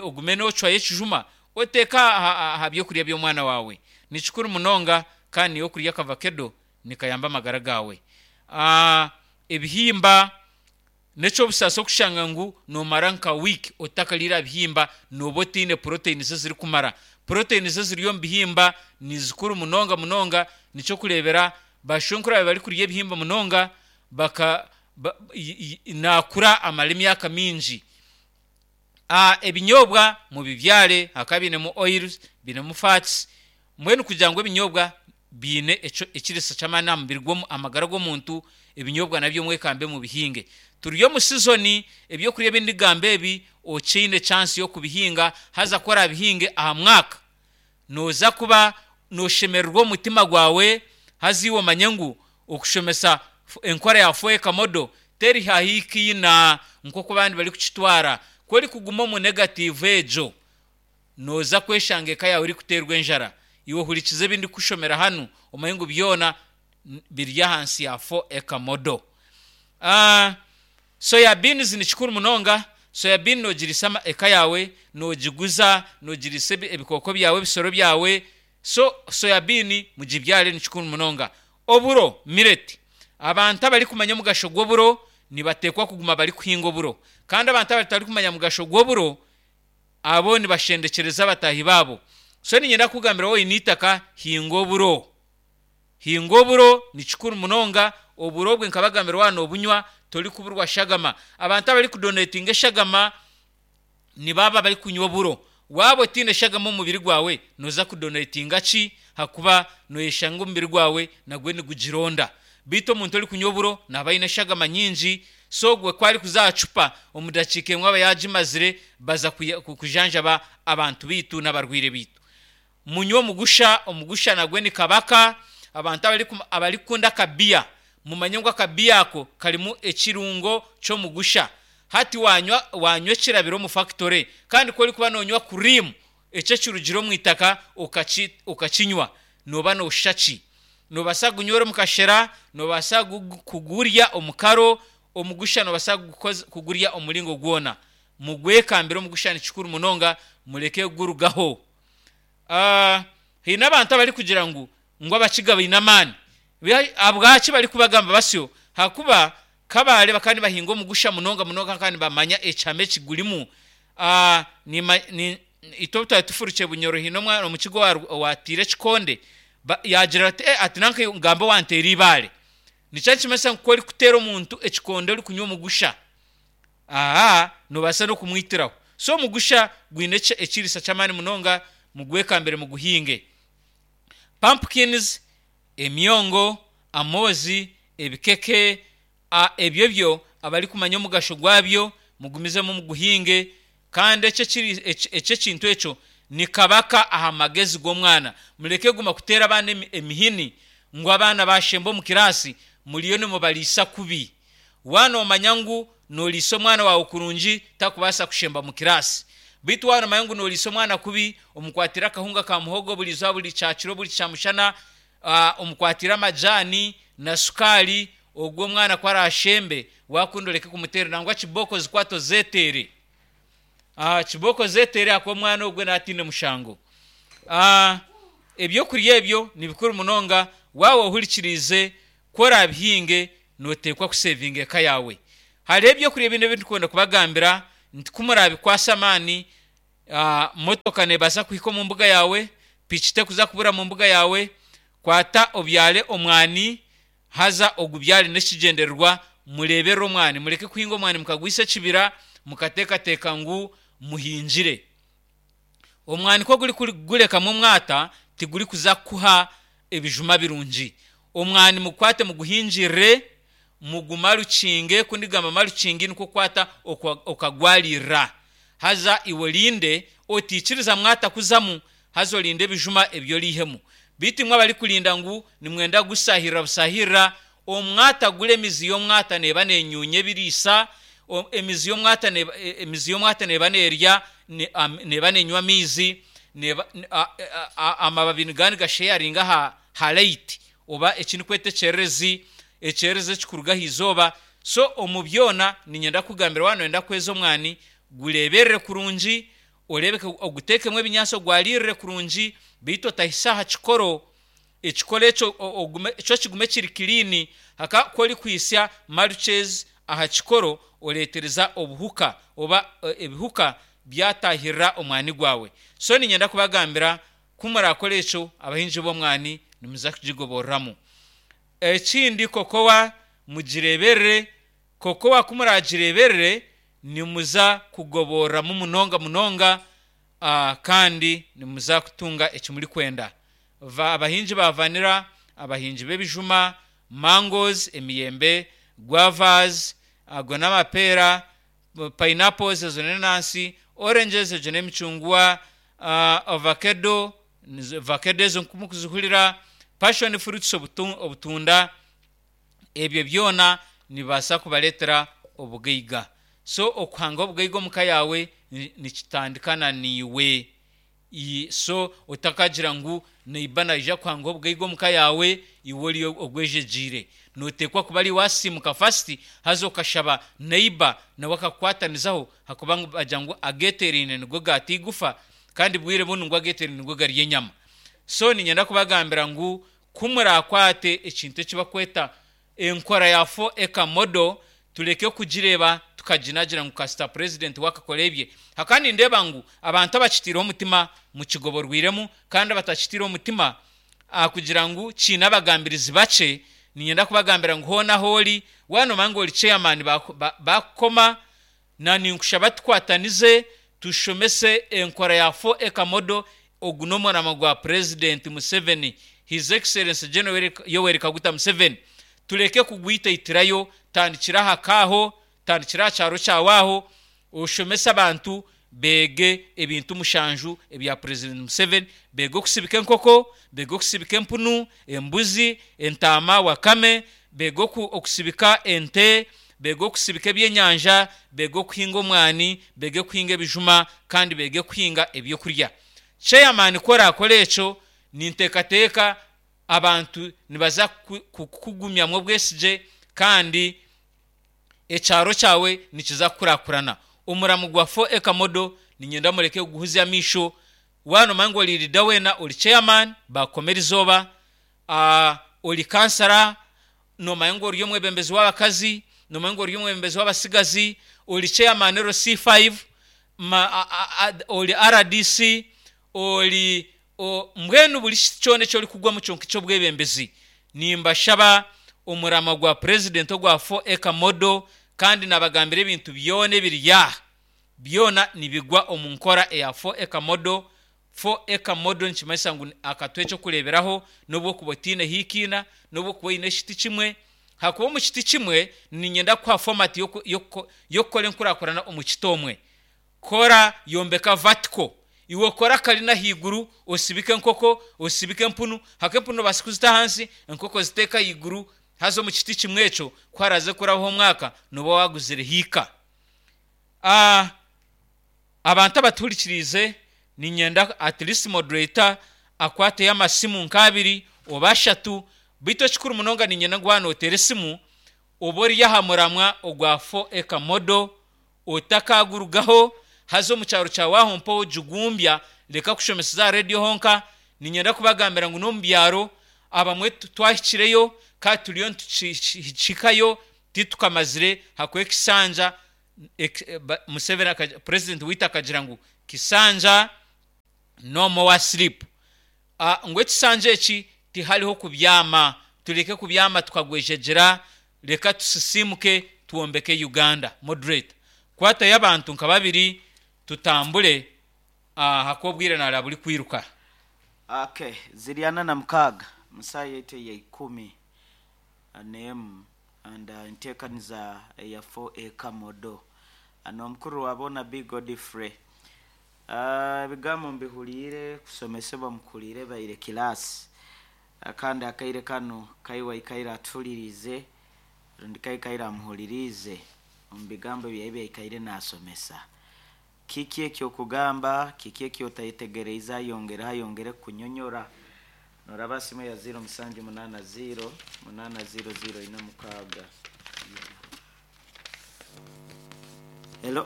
ogume noocwayo ekijuma oteeke aha byokurya by'omwana waawe. Ni kikuru munonga, kandi niiwe okurya akavakedo nikayamba amagara gaawe. Ebihimba n'eky'obusaasi okushanga ngu noomara nka wiiki otakariire aha bihimba, nooba otiine proteins ezirikumara. Proteins eziri omu bihimba ni zikuru munonga munonga. Nikyokureebera bashwenkuru aba barikurya ebihimba munonga baka naakura amara emyaka mingi. Ebinyobwa mubibyare ahakuba biinemu oils, biinemu fats. Mbwenu kugira ngu ebinyobwa biine ekiriisa ky'amaani aha mubiri, amagara g'omuntu, ebinyobwa nabyo mwekambe mubihinge. Turi omu season, ebyokurya ebi ndigamba ebi okyaine chance y'okubihinga. Haza ku oraabihinge aha mwaka, nooza kuba nooshemererwa omutima gwawe. Haza iwe omanye ngu okushomesa enkora ya four acre model teri hahikiina nk'oku abandi barikukitwara. Ku orikuguma omu negative egyo, nooza kweshanga eka yaawe erikuteerwa enjara. Iwe ohurikize ebi ndikushomera hanu, omanye ngu byona biri ahansi ya four acre model. Soya beans ni kikuru munonga. Soya bean noogiriisa eka yaawe, noogiguza, noogiriisa ebikooko byawe, ebisoro byawe. So soya bean mugibyare, ni kikuru munonga. Oburo, millet, abantu abarikumanya omugasho gw'oburo nibateekwa kuguma barikuhinga oburo, kandi abantu abatarikumanya mugasho gw'oburo abo nibashendekyereza abataahi baabo. So niinyenda kukugambira, waaba oine eitaka, hinga oburo, hinga oburo, ni kikuru munonga. Oburo obwe nkabagambira, waaba noobunywa torikuburwa shagama. Abantu abarikudonatinga eshagama nibaaba barikunywa oburo. Waaba otiine shagama omu mubiri gwawe, nooza kudonatinga ki? Hakuba nooyeshanga omubiri gwawe nagwe nigugironda, beitu omuntu orikunywa oburo naaba aine eshagama nyingi. So ogwe ku arikuza aha cupa, omu dakiika emwe aba yaagimazire, baza kujanjaba abantu baitu n'abarwaire baitu. Munywe omugusha, omugusha nagwe ni kabaka. Abantu abarikukunda akabiya, mumanye ngu akabiya ako karimu ekirungo ky'omugusha. Hati wanywa wanywa ekirabire omu factory, kandi ku orikuba noonywa cream ekyo ekirugire omu itaka okakinywa, nooba nooshusha ki? Noobaasa kugunywera omu kashera, noobaasa kugurya omu karo. Omugusha noobaasa kugurya omu muringo gwona. Mugwekambire omugusha, ni kikuru munonga, mureke kugurugaho. Haine abantu abarikugira ngu ngu Abakiga baine amaani. Ahabwaki barikubagamba basyo? Hakuba Kabale bakaba nibahinga omugusha munonga munonga kandi nibamanya ekihama ekigurimu. Itwe obu twari tufurukye Bunyoro, haine omwana Omukiga owateire ekikonde, yaagira ati ati nanka ngambe owanteera eibaare. Nikyo nikimanyisa ngu ku orikuteera omuntu ekikonde orikunywa omugusha, aha noobaasa n'okumwitiraho. So omugusha gwine ekiriisa ky'amaani munonga, mugwekambire muguhinge. Pumpkins, emyongo, amoozi, ebikeke, ebyo byo abarikumanya omugasho gwabyo mugumizemu muguhinge. Kandi ekyo ekintu ekyo ni kabaka aha magezi g'omwana. Mureke kuguma kuteera abaana emihini ngu abaana bashemba omu kiraasi, muriyo nimubariisa kubi. Waaba noomanya ngu nooriisa omwana waawe kurungi, takubaasa kushemba mu kiraasi, beitu waaba noomanya ngu nooriisa omwana kubi, omukwatire akahunga ka muhogo buri izooba, buri kyakiro, buri kyamushana, omukwatire amajaani na sukaari, ogwo omwana ku araashembe, waakunda oreke kumuteera nangwa kibooko zikwate ozeeteere, kibooko ozeeteere, ahakuba omwana ogwe naaba ataine mushango. Ebyokurya ebyo ni bikuru munonga. Waaba ohurikiriize Ku oraabihinge, nooteekwa kusevinga eka yaawe. Hariho ebyokurya ebindi ebi ndikwenda kubagambira nti ku muraabikwasa amaani, motoka neebaasa kuhika omu mbuga yaawe, piki tekuza kubura mu mbuga yaawe. Kwata obyare omwani, haza ogubyare n'ekigyendererwa, mureeberere omwani. Mureke kuhinga omwani mukagwisa ekibira, mukateekateeka ngu muhingire. Omwani ku ogurikugurekamu omwata, tigurikuza kukuha ebijuma birungi. Omwani mugukwate muguhingirire, mugumarukinge. Ku ndigamba marukingi, nikwo kukwata okagwaririra, haza iwe orinde otiikiriza mwata kuzamu, haza orinde ebijuma ebi oriihemu. Beitu imwe abarikurinda ngu nimwenda kugusahirira busahirira, omwata guri, emizi y'omwata neeba nenyuunya ebiriisa, emizi y'omwata emizi y'omwata neeba neerya, neeba nenywa amaizi, amababi nigaba nigasheyaringa aha light oba eki ndikweta ekyererezi, ekyererezi ekirikuruga aha izooba. So omu byona niinyenda kukugambira, waaba nooyenda kweza omwani, gureeberere kurungi, oreebeke oguteekemu ebinyaatsi, ogwaririre kurungi, beitu otahisa aha kikoro. Ekikoro ekyo kyo kigume kiri clean. Ku orikuhitsya mulches aha kikoro, oreetereza obuhuka oba ebihuka byatahirira omwani gwawe. So niinyenda kubagambira, ku murakora ekyo, abahingi b'omwani, nimuza kugigoboreramu. Ekindi, kokowa mugireeberere. Kokowa ku muragireeberere, nimuza kugoboreramu munonga munonga, kandi nimuza kutunga eki murikwenda. Abahingi ba vanilla, abahingi b'ebijuma, mangoes, emiyembe, guavas, ago n'amapeera, pineapples, ezo n'enanansi, oranges, egyo n'emicungwa, avocado, avocado ezo nk'oku murikuzihurira, passion fruits, obutunda, ebyo byona nibibaasa kubareetera obugaiga. So okuhanga obugaiga omu ka yaawe nikitandika na niiwe. So otakagira ngu neighbour naija kuhanga obugaiga omu ka yaawe, iwe ori ogwejegyeire. Nooteekwa kuba ari waasiimuka first, haza okashaba neighbour nawe akakukwatanizaho, ahakuba bagira ngu ageeteeraine nigo gaata eigufa, kandi bwire bunu ngu ageeteeraine nigo garya enyama. So niinyenda kubagambira ngu ku murakwate ekintu eki barikweta enkora ya four acre model, tureke kugireeba tukaginagira ngu kasita president we akakora ebye. Hakaba nindeeba ngu abantu abakitiireho omutima mukigoborwiremu, kandi abatakitiireho omutima kugira ngu kiine abagambirizi bakye. Niinyenda kubagambira ngu hoona ahu ori, waaba noomanya ngu ori chairman, bakukoma na ninkushaba tukwatanize tushomese enkora ya four acre model. Ogu n'omurimo gwa President Museveni, His Excellency General Yoweri Kaguta Museveni. Tureke kugwitaitirayo. Tandikira aha kaaho, tandikira aha kyaro kyawe aho, oshomese abantu beege ebintu mushanju ebya President Museveni. Beege okusibika enkoko, beege okusibika empunu, embuzi, entaama, wakame, beege okusibika ente, beege okusibika ebyenyanja, beege okuhinga omwani, beege kuhinga ebijuma, kandi beege kuhinga ebyokurya. Chairman, ku orakora ekyo, ninteekateeka abantu nibaza kukugumyamu obwesigye, kandi ekyaro kyawe nikiza kukurakurana. Omuramo gwa four acre model niinyenda mureke kuguhuzya amaisho. Waaba noomanya ngu ori leader weena, ori chairman, bakukoma erizooba, ori kansara, noomanya ngu ori omwebembezi w'abakazi, noomanya ngu ori omwebembezi w'abatsigazi, ori chairman L C five, ori R D C, ori mbwenu buri kyona eki orikugwamu kyonka eky'obwebembezi, nimbashaba omurama gwa president ogwa four acre model. Kandi nabagambira ebintu byona ebiri aha byona nibigwa omu nkora eya four acre model. Four acre model nikimanyisa ngu akatuha ekyokureeberaho, n'obu okuba otiine hikiina, n'obu okuba oine ekiti kimwe. Hakuba omu kiti kimwe, niinyenda kukuha format y'okukora enkurakurana omu kiti omwe. Kora, yombeka vertical. Iwe okore akarina ahaiguru, osibike enkoko, osibike empunu. Haka empunu nobaasa kuzita ahansi, enkoko ziteeke ahaiguru, haza omu kiti kimwe ekyo, ku haraze kurabaho omwaka, nooba waguzire hiika. Abantu abatuhurikiriize, niinyenda at least moderator akwateyo amasimu nk'abiri oba ashatu. Beitu ekikuru munonga, niinyenda ngu waaba nooteera esimu, obe ori aha muramwa ogwa four acre model, otakagurugaho. Haza omu kyaro kyawe aho mpa ogigumbya. Reka kushomeseza aha rediyo honka. Niinyenda kubagambira ngu n'omu byaro. Abamwe twahikireyo kandi turiyo nituhikayo, titukamazire hakuba ekisanja Museveni, president waitu, akagira ngu kisanja no more sleep, ngu ekisanja eki tihariho kubyama. Tureke kubyama tukagwejegyera, reka tusisimuke twombeke Uganda. Moderator, kwatayo abantu nka babiri tutambure, ahakuba obwire naraba buri kwiruka. Okay, ziri ana na mukaaga musaha yaitu eya ikumi n'emu and uh, enteekaniza eya four Acre Model n'omukuru wa boona B Godfrey. Ebigambo mbihuriire kusomesebwa mukuhuriire baire kilaasi, kandi akaire kanu kaiwe aikaire atuhuririize rundi kaikaire amuhuririize omu bigambo byawe byaikaire naasomesa. Kiki ekyokugamba? Kiki ekyotayetegereize? Ayongereho, ayongere kukunyonyora. Noraba simu ya zero musanju munaana zero munaana zero zero ina mukaaga. Hello.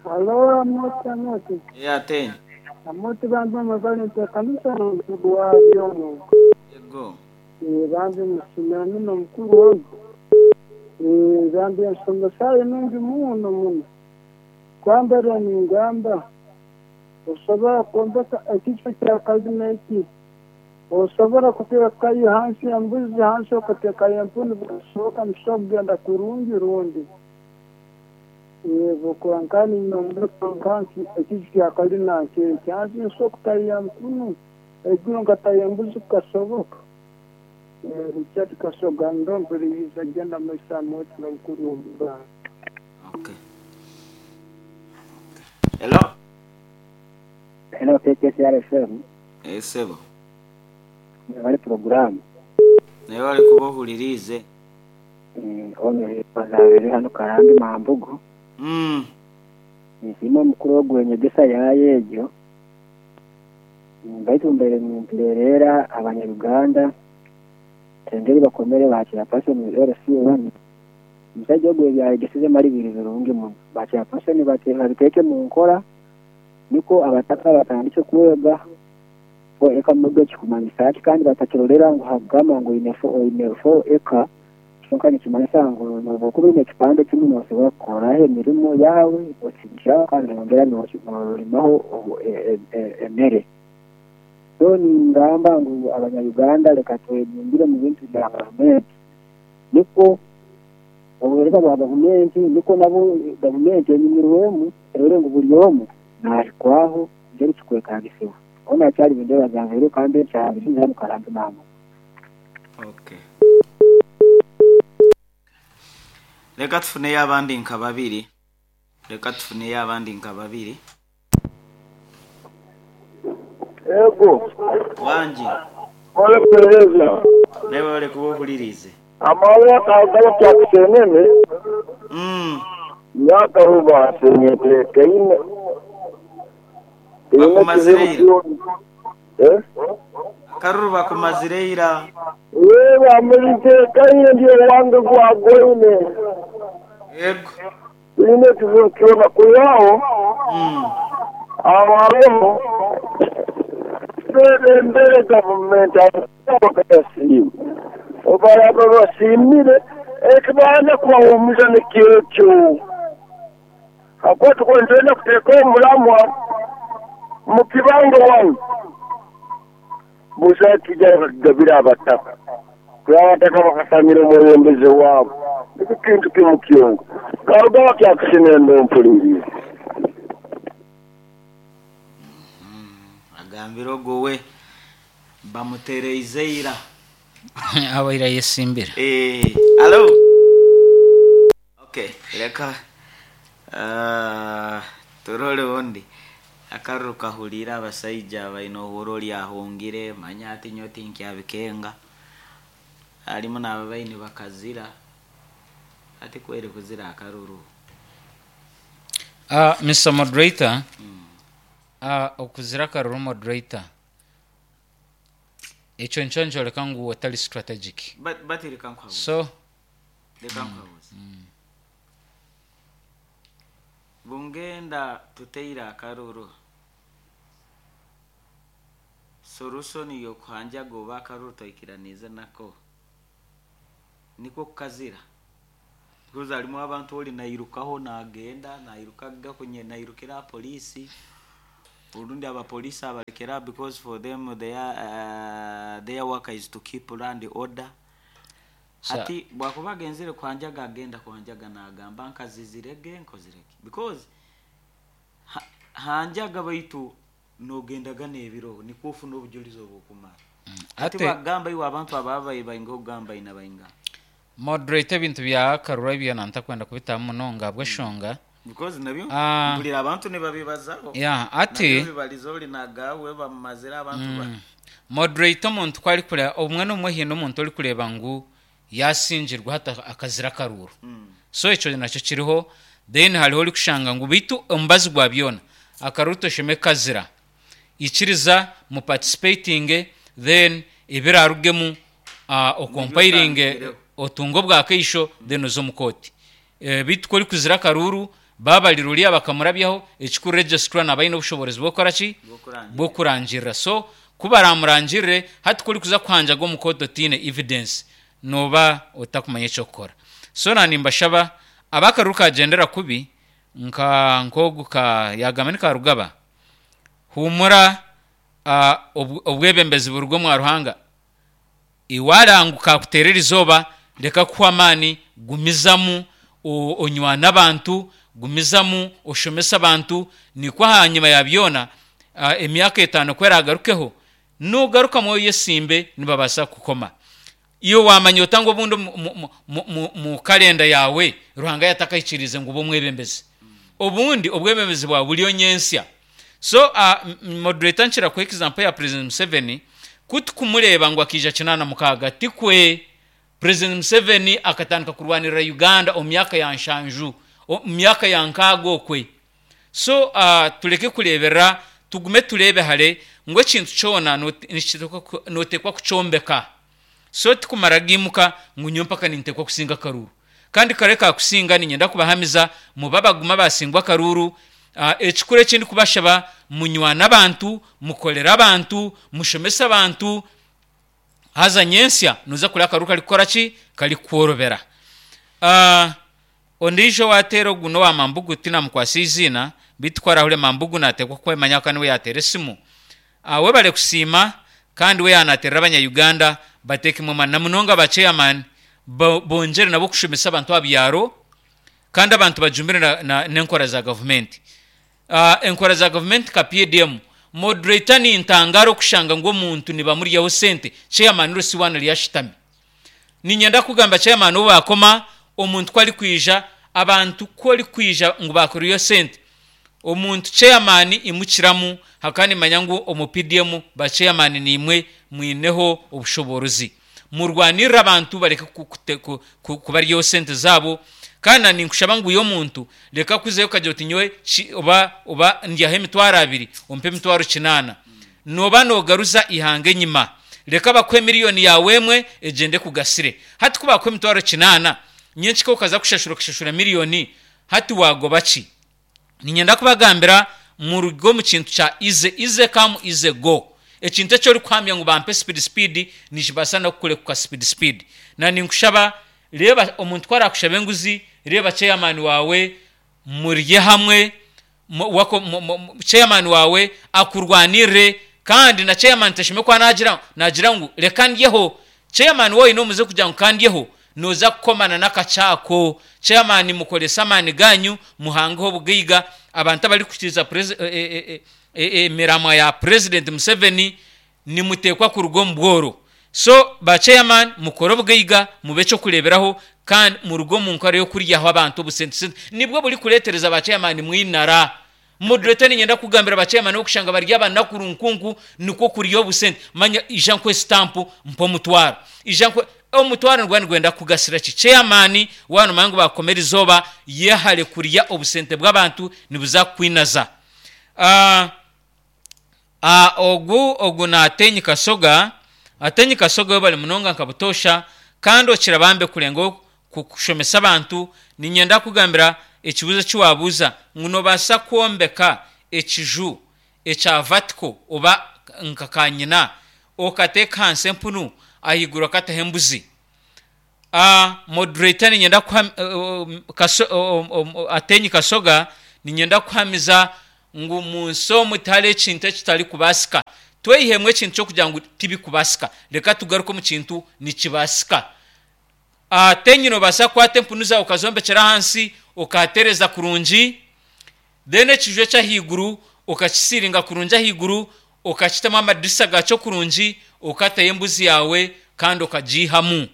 Halo, Amoti, Amoti. Ya ten. Amoti, bambi mwebale kanisa n'omukuru wabyo. Ego. Bambi musumira muno mukuru wangu. Bambi ensomesa nungi muno muno. Kwambara ningamba osobola kwombeka ekifo kya kalina eki, osobola kuteekayo hansi embuzi, hansi okateekayo empunu, bikasoboka musobola kugenda kurungi rundi. Yego, konka ninombeka ekiju kya kalina nkyeki hansi nsobola kutayo empunu, eiguru nkatayo embuzi, kukasoboka nikyo tukasoga ndomperiza genda maisa Amoti n'omukuru w'obuganda. Okay, hello. Hello, K K C R F M. Esebo. Bali porogaramu. Naye wali kuba ohuririize. Ono bazabere hano Karambi Mambugu. mm. Nsiima omukuru ogw'enyegesa yayo egyo, baitu mbere nimperera abanyaruganda engeri bakomere bakira person L C one. Omusajja ogwo ebyayegeseze mali biri birungi muno. Bakira person babiteeke mu nkora, niko abataka batandike kwega four acre model kikumanyisa ki, kandi batakirorera ngu hagamba ngu oine four oine four acre kyonka nikimanyisa ngu noba oine ekipande kimwe nosobora kukoraho emirimo yawe osigiraho kandi nongera norimaho emere. So ningamba ngu abanyayuganda reka twejumbire mu bintu bya gavumenti, niko obuheereza bwa gavumenti, niko nabo gavumenti enyumirwemu erore ngu buri omwe nahikwaho ngeri kikwetagisibwa. Ona akyali bindeba zange kandi ekyabiri hano Karambi mama. Okay, reka tufuneyo abandi nka babiri, reka tufuneyo abandi nka babiri. Ego. Wangi. Ole kuhereza. Naye wale kuba ohuririize. Amahoro akagaba kyakusenene. mm. Myaka rubasenyete teine. Bakumazire ira. Eh? Akaruru bakumazire ira. Wewe amulite kaine ndio wange gwagoine. Ego. Ine kizibu kiona kuyao. mm. Abareho mbere mbere gavumenti bakayasiima, obaraba basimire ekibaana kubahumuza nikyekyo hakuba tukwenzenda kuteeka omulamwa mukibanga wanu busa kijja bakigabira abataka, kuba abataka bakasamira omwebembezi waabo. Nikyo kintu kimu kyonka karuga bakyakusinenda ompulirize. Agambire ogwo we bamutereize ira. Abaire ayesimbira. Eh, alo. Okay, reka uh, turole undi. Akaruru kahurira abasaija baine ohuro lyahungire manya ati nyo tinkyabikenga harimu n'aba baine bakazira ati kweri kuzira akaruru. Uh, Mister Moderator, uh, okuzira akaruru, moderator, ekyo nikyo nikyoreka ngu otari strategic. But but reka nkwabuze. So Reka nkwabuze. Bungenda tuteire akaruru. Solution yokuhanjaga oba akaruru toikiranize nako niko kukazira, because harimu abantu ori nairukaho nagenda nairukaga kunye nairukira polisi, urundi abapolisi abalekera, because for them their, uh, their work is to keep land order. Sa- Hati bwakuba agenzere kuhanjaga, agenda kuhanjaga nagamba nkazizirege nkozirege, because ha, hanjaga baitu nogendaga n'ebiro nikwo ofuna obujulizi obwokumara. Hati Ate bagamba iwe abantu ababaye bainga okugamba ina bainga. Moderator, ebintu bya karura ebyo nantakwenda kubitamu munonga bweshonga. Because nabyo Ah. mpulira abantu nibabibazaho. Ya, ati nabyo bibaliza ori nagawe bamumazire abantu ba moderator, omuntu ku arikureba obumwe n'obumwe hiine omuntu orikureba ngu yasingirwa hati akazira akaruru. Mm. So ekyo nakyo kiriho. Then hariho orikushanga ngu baitu omubazi gwa byona akaruru tosheme kazira, ikiriza mu participating, then ebirarugemu uh, okompiringe. Otangireho. Otunga obwakaisho, then oze omu kooti. Eh, baitu ku orikuzira akaruru babarira oriya bakamurabyaho, ekikuru registrar naba aine obushobozi bw'okukora ki? Bw'okurangirira. Bw'okurangirira. So ku baramurangirire, hati ku orikuza kuhanjaga omu kooti otiine evidence, noba otakumanya ekyokukora. So na nimbashaba abakaruru kagendera kubi nka nkogu ka yagamba ni Karugaba, humura, uh, obwebembezi buruga omwa Ruhanga. Iwarangu kakuterera izooba, reka kuhwa amaani, gumizamu o- onywana abantu, gumizamu oshomesa abantu, nikwo ahanyuma ya byona uh, emyaka etaano kweragarukeho nugaruka mwoyo yesimbe nibabaasa kukoma. Iyo wamanya otanga obundi mu- mu- mu- mu- mu kalenda yawe Ruhanga yatakahikirize ngu ube omwebembezi, obundi obwebembezi bwawe buriyo nyensya. So uh, moderator, nkira kuha example ya President Museveni. Kutukumureba ngu akija kinaana mukaaga, tikwe President Museveni akatandika kurwanirira Uganda omu myaka ya nshanju, omu myaka ya nkaaga okwe. So uh, tuleke kureberera, tugume turebe hare ngu ekintu kyona note- nikitekwa ku- notekwa kucyombeka. So tikumara gimuka ngu nyo mpaka nintekwa kusinga akaruru kandi kare kakusinga. Ninyenda kubahamiza muba baguma basingwa akaruru. uh, ekikuru ekindi kubashaba, munywana abantu, mukolera abantu, mushomesa abantu, haza nyensya nuza kureba akaruru kari kukora ki? Kari kworobera. uh, ondiijo wateera ogu nowa Mambugu, tinamukwasa iziina bitu kwarahure Mambugu natekwa kwemanya ka niwe yateera esimu. uh, webale kusiima, kandi we yanaterera abanya-Uganda bateekemu amaani na munonga ba chairman bo- bongere nabo kushomesa abantu abyaro, kandi abantu bajumbire na- na- n'enkora za gavumenti, uh, enkora za gavumenti ka P D M. Moderator, nintangara okushanga ngu omuntu nibamuryaho sente, chairman rusiwana ryashitami. Ninyenda kugamba chairman obu bakoma omuntu ko ari kwija, abantu ko ari kwija ngu bakuriyo sente omuntu, chairman imukiramu hakandi manya ngu omu P D M ba chairman nimwe mwineho obushoborozi, murwanirira abantu bareke ku- kute- ku- ku- kubaryaho sente zabo. Kandi ninkushaba ngu uyo omuntu reka kuzeyo ukagira uti nyowe ki- oba oba ndyaho emitwaro abiri, ompe emitwaro kinaana, noba nogaruza ihanga enyima. Reka bakuhe miliyoni yawe emwe egende kugasire. Hati ku bakuha emitwaro kinaana, nyenkika okaza kushashura, okashashura miliyoni, hati wagoba ki? Ninyenda kubagambira murugo omu kintu kya easy easy come, easy go. Ekintu eki orikuhamya ngu bampe speed speed, nikibaasa nokukurekuka speed speed. Na ninkushaba, reba omuntu ku arakushaba enguzi, reba chairman wawe, murye hamwe, mu- wako- mu- mu- mu- chairman wawe akurwanirire. Kandi na chairman tashime kwa nagira nagira ngu reka ndyeho, chairman wowe nomuze kugira ngu kandyeho, noza kukomana n'akacyako. Chairman mukoresa amaani ganyu, muhangeho obugaiga. Abantu abari kukiriza presi- e- e- e- e- emiramwa ya President Museveni, nimutekwa kuruga omu bworo. So ba chairman, mukore obugaiga, mube ekyokureberaho, kandi muruge omu nkora yokuryaho abantu obusente. Sente nibwo buri kuretereza ba chairman mwinara. Moderator, ninyenda kugambira ba chairman okushanga bari abanakuru nkunku nikwo kurya obusente. Manya ija nkwe stamp mpa omutwaro, ija nkwe omutwaro, nigwa nigwenda kugasira ki? Chairman wano mangu bakomera izooba, yehare kurya obusente bw'abantu, nibuza kukwinaza. uh, uh, ogu ogu natenyi Kasoga, atenyi Kasoga we bali munonga nka butosha, kandi okira bambe kurenga kushomesa abantu. Ninyenda kugambira ekibuzo kiwabuuza ngu nobaasa kwombeka ekiju. Ekya vertical oba nka kanyina, okateeka ahansi empunu, ahaiguru okataho embuzi. uh, moderator, niinyenda kuham, uh, kaso, uh, um, Atenyi Kasoga, niinyenda kuhamiza ngu mu nsi omu tihariho ekintu ekitarikubaasika. Tweyihemu ekintu ky'okugira ngu tibikubaasika, reka tugaruke omu kintu nikibaasika. Atenyi, noobaasa kukwata empunu zaawe okazombekyera ahansi, okahatereeza kurungi, then ekiju eky'ahaiguru okakisiiringa kurungi ahaiguru, okakitamu amadirisa gakyo kurungi, okatayo embuzi yaawe kandi okagiihamu.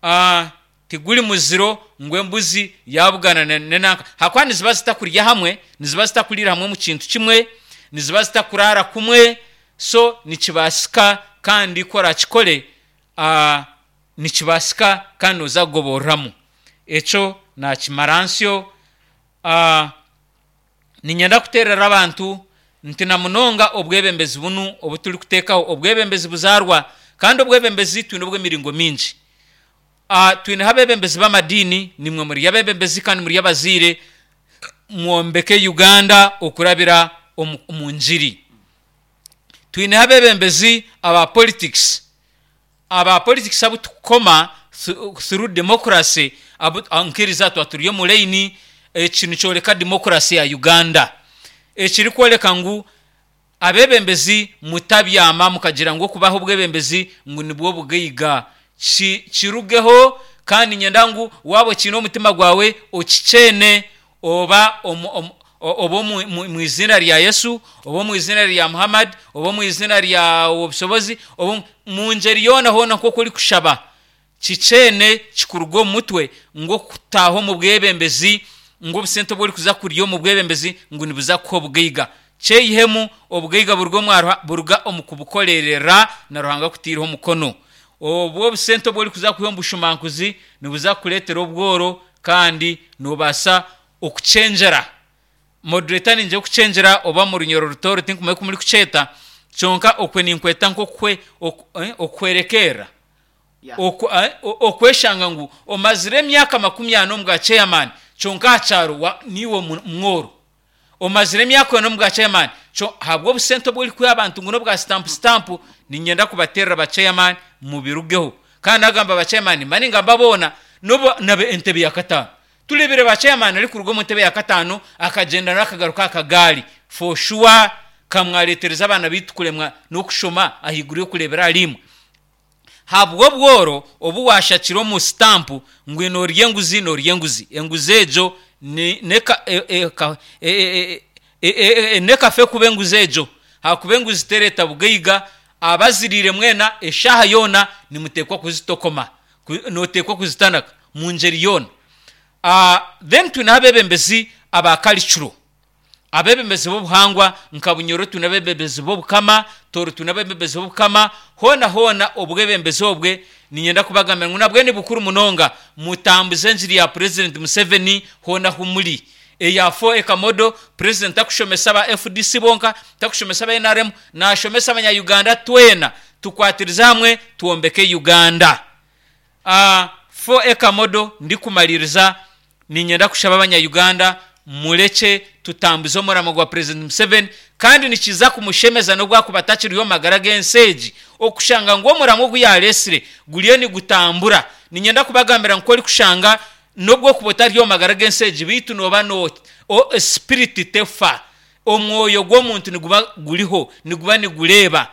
uh, tiguri muziro ngu embuzi yabugana nenanka, hakuba niziba zitakurya hamwe, niziba zitakurira hamwe mu kintu kimwe, niziba zitakurara kumwe. So nikibaasika, kandi ku orakikore uh, nikibaasika kandi noza kugoboreramu. Ekyo nakimara nsyo. uh, niinyenda kuteerera abantu nti na munonga obwebembezi bunu obu turikuteekaho, obwebembezi buzaarwa, kandi obwebembezi twine obw'emiringo mingi. uh, twineho abebembezi b'amadiini. Nimwe muri abebembezi kandi muri abazaire, mwombeke Uganda okurabira omu omu ngiri. Twineho abebembezi aba politics aba politics abu tukukoma through democracy, abu nkiriza twa turi omu line. Eki nikyoreka democracy ya Uganda, ekirikworeka ngu abebembezi mutabyama mukagira ngu okubaho obwebembezi ngu nibwo bugaiga. Kirugeho. Kandi nyenda ngu waaba okiine omutima gwawe, okikyene, oba omu, oba omu izina rya Yesu, oba omu izina rya Muhammad, oba omu izina rya Obusobozi, oba mu ngeri yoona hoona nk'oku orikushaba, kikyene kikuruga omu mutwe ngu okutaaha omu bwebembezi, ngu obusente obu orikuza kurya omu bwebembezi ngu nibuza kuha obugaiga. Kyeyihemu. Obugaiga buruga buruga omu kubukorerera na Ruhanga kutiireho omukono. Obwo obusente obu orikuza kwiha omu bushumankuzi nibuza kukureetera obworo, kandi noobaasa okukyengyera. Moderator, ningira okukyengyera oba mu Runyoro Rutooro, tinkumanya oku murikukyeta, kyonka okwe ninkweta nk'okuhwerekerera, okweshanga ngu omazire emyaka makumi ana omu bwa chairman, kyonka aha kyaro niiwe mworo. Omazire emyaka ena omu bwa chairman ahabw'obusente obu orikuha abantu ngu n'obwa stamp stamp. Niinyenda kubateerera, ba chairman, mubirugeho. Kandi nagamba ba chairman, mba ningamba boona, n'obu nabe entebe ya kataano. Tureebire ba chairman arikuruga omu ntebe ya kataano akagyenda n'akagaruka aha kagaari. For sure kamwareetereza abaana baitu kuremwa n'okushoma ahaiguru y'okureebera ahari imwe habw'obworo obu washakire omu sitampu, ngu noorya enguzi, noorya enguzi. Enguzi egyo nekafe kuba enguzi egyo, hakuba enguzi tereeta bugaiga. Abaziriire mwena eshaaha yoona nimuteekwa kuzitokoma, nooteekwa kuzitanaka mu ngeri yoona. Then twineho abebembezi aba cultural, abebembezi b'obuhangwa. Nka Bunyoro twine abebembezi b'obukama, Tooro twine abebembezi b'obukama. Hoona hoona obwebembezi obwe, niinyenda kubagambira ngu nabwe ni bukuru munonga. Mutambuze engiri ya President Museveni hoona ahu muri, eya four acre model. President takushomesa aba F D C bonka, takushomesa aba N R M, naashomesa abanya-Uganda twena. Tukwatirize hamwe twombeke Uganda. uh, four acre model, ndikumaliriza, niinyenda kushaba abanya-Uganda, murekye tutambuze omuramo gwa President Museveni, kandi nikiza kumushemeza n'obwakuba atakiriho omu magara g'ensi egi, okushanga ngu omuramo ogu yareesire guriyo nigutambura. Niinyenda kubagambira ngu orikushanga n'obwokuba otari omu magara g'ensi egi, beitu nooba no spirit tefa, omwoyo gw'omuntu niguba guriho, niguba nigureeba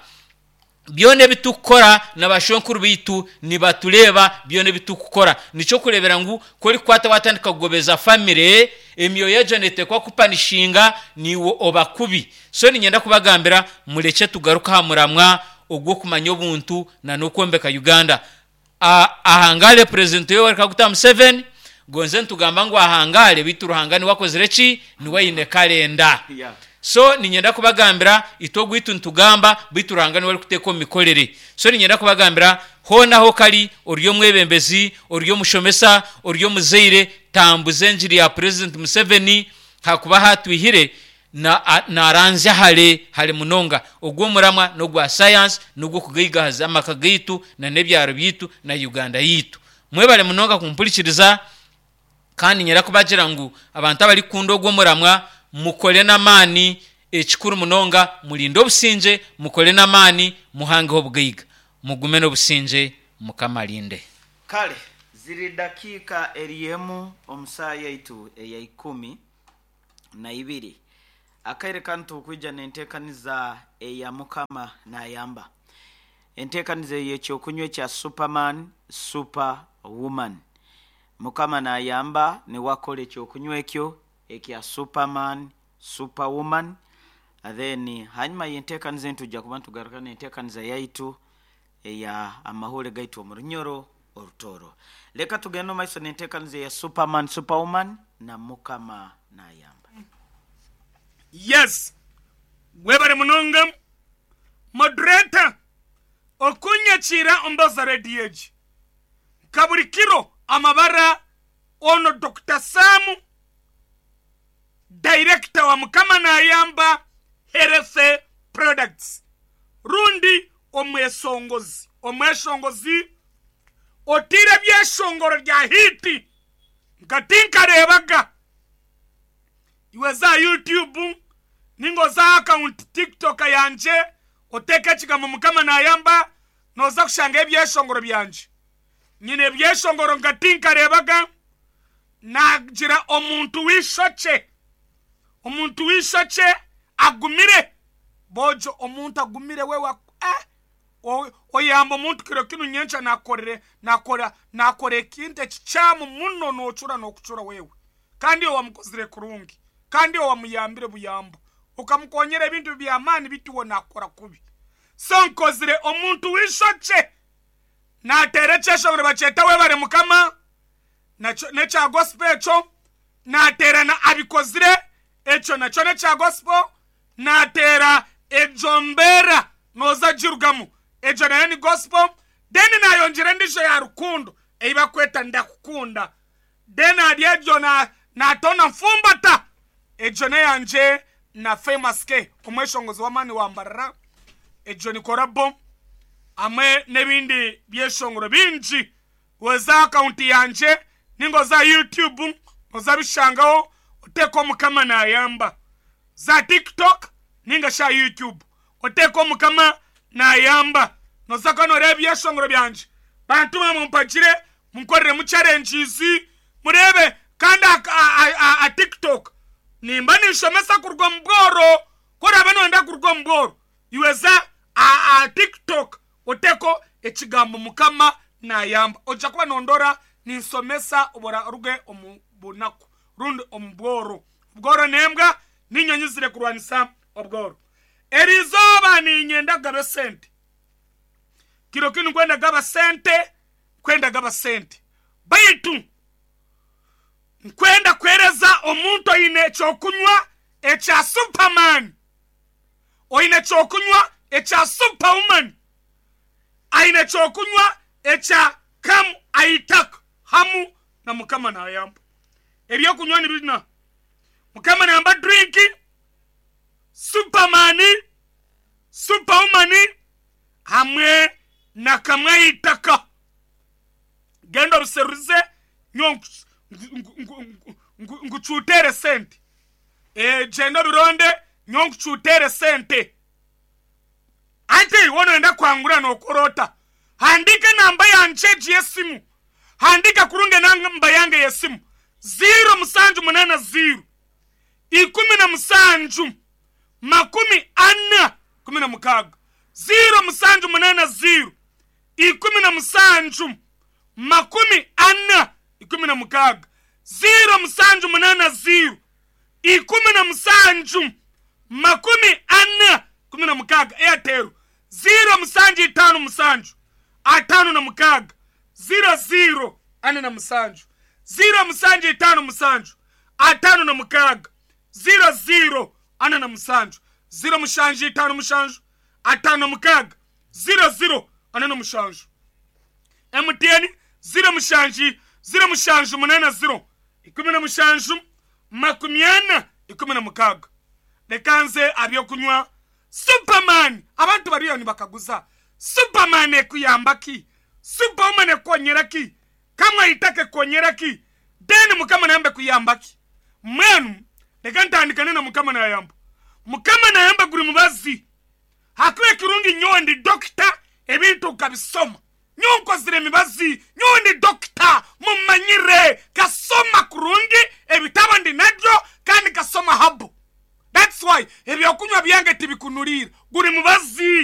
byona ebi tukukora, na bashwenkuru baitu nibatureeba byona ebi tukukora. Nikyo kureebera ngu ku orikukwata watandika kugobeza famire, emyoyo egyo neeteekwa kupanishinga niiwe oba kubi. So niinyenda kubagambira, murekye tugaruke aha muramwa ogw'okumanya obuntu na n'okwombeka Uganda. Ahangare President Yoweri Kaguta Museveni. Gonze nitugamba ngu ahangare, beitu Ruhanga niwe akozire ki, niwe aine kalenda. Yeah. So niinyenda kubagambira, itwe ogwitu nitugamba, beitu Ruhanga niwe arikuteeka omu mikorere. So niinyenda kubagambira, hoona aho kari ori omwebembezi, ori omushomesa, ori omuzaire, tambuza engiri ya President Museveni, hakuba hatwihire naranzya hare hare munonga. Ogw'omuramwa n'ogwa sayansi, n'ogw'okugaigahaza amaka gaitu na n'ebyaro byaitu na Uganda yaitu. Mwebare munonga kumpurikiriza, kandi nyenda kubagira ngu abantu abarikukunda ogw'omuramwa, mukore n'amaani. Ekikuru munonga, murinde obusingye, mukore n'amaani, muhangeho obugaiga. Mugume n'obusingye, Mukama arinde. Kale ziri dakiika eri emu omu saaha yaitu eya ikumi na ibiri. Akaire kanu tukwija n'enteekaniza eya Mukama Naayamba. Enteekaniza ey'ekyokunywa ekya Superman, Super Woman. Mukama Naayamba niwe akora ekyokunywa ekyo ekya Superman, Super Woman. Then hanyuma y'enteekaniza eni tujja kuba nitugaruka n'enteekaniza yaitu eya amahure gaitu omu Runyoro Orutooro. Leka tugende omu maiso n'enteekaniza eya Superman, Superwoman na Mukama Naayamba. Yes, webare munonga moderator okunyakiira ombaza radio egi. Nka buri kiro amabara ono Doctor Sam, director wa Mukama Naayamba Health Products, rundi omwesongozi, omweshongozi otiire ebyeshongoro rya hiti nka tinkareebaga. Iwe za YouTube ninga oza account TikTok yangye oteeke ekigambo Mukama Naayamba, nooza kushanga ebyeshongoro byangye. Nyine ebyeshongoro nka tinkareebaga. Nagira omuntu w'eishokye, omuntu w'eishokye agumire. Bojo omuntu agumire we wa, eh, o-, oyamba omuntu kiro kinu nyenkya nakorere, nakora, nakora ekintu ekikyamu muno, noocura n'okucura wewe. Kandi owamukozire kurungi, kandi owamuyambire buyambo, okamukonyera ebintu by'amaani bituwe nakora kubi. So nkozire omuntu w'eishokye nateera ekyeshongoro bakyeta webare Mukama, nakyo n'ekya gospel ekyo nateera na abikozire ekyo nakyo n'ekya gospel, nateera egyo mbeera nooza girugamu, egyo nayo ni gospel. Then nayongyera endiijo ya rukundo ei bakweta ndakukunda. Then ahari egyo na-, naatona nfumbata, egyo n'eyangye na Famous K, omweshongozi w'amaani wambarara, egyo ni korabo hamwe n'ebindi byeshongoro bingi. Oza akawunti yangye ninga oza YouTube oza bishangaho oteeka Mukama Naayamba. Za TikTok ninga sha YouTube oteeka Mukama Naayamba, noza kuba nooreeba ebyeshongoro byangye. Bantu bamwe mumpagire, munkoreremu challenges, mureebe. Kandi a, a, a, a TikTok nimba ninshomesa kuruga omu bworo, ku oraabe nooyenda kuruga omu bworo, iwe za a, a TikTok oteeko ekigambo Mukama Naayamba, ojja kuba nondora ninsomesa oburuge omu bunaku rundi omu bworo. Obworo n'embwa n'inyonyi zire kurwanisa obworo. Erizooba niinyenda kugaba esente, kiro kinu nkwenda kugaba sente, nkwenda kugaba sente, baitu nkwenda kwereza omuntu oine ekyokunywa ekya Superman, oine ekyokunywa ekya Superwoman, aine ekyokunywa ekya Kamu Aitaka hamu na Mukama Naayamba. Ebyokunywa ni bina Mukama Naayamba drink, Superman, Superwoman hamwe na Kamwe Aitaka. Genda obiseruze nyo nkucutere sente. E, genda obironde nyo nkucutere sente. Ati wonoenda kwangura nokorota, handika namba yangye y'esimu, handika kurunge namba yange y'esimu ziro musanju munana ziro ikumi na musanju makumi ana kumi na mukaaga, ziro musanju munana ziro ikumi na musanju makumi ana ikumi na mukaaga, ziro musanju munana ziro ikumi na musanju makumi ana kumi na mukaaga. Airtel ziro musanju itaano musanju ataano na mukaaga ziro ziro ana na musanju, ziro musanju itaano musanju ataano na mukaaga ziro ziro ana na musanju, ziro mushanju itaano mushanju ataano na mukaaga ziro ziro ana na mushanju. M T N ziro mushanju ziro mushanju munana ziro ikumi na mushanju makumi ana ikumi na mukaaga. Leka nze abyokunywa Superman. Abantu bariyo nibakaguza Superman ekuyamba ki, Superwoman ekonyera ki, Kamwe Aitaka ekonyera ki, then Mukama Naayamba ekuyamba ki. Mwenu leka ntandikane na Mukama Naayamba. Mukama nayamba guri mubazi. Hakuba ekirungi nyowe ndi dokita, ebintu nkabisoma. Nyowe nkozire emibazi, nyowe ndi dokita, mumanyire kasoma kurungi, ebitabo ndi nabyo kandi kasoma habu. That's why ebyokunywa byange tibikunulira, guri mubazi.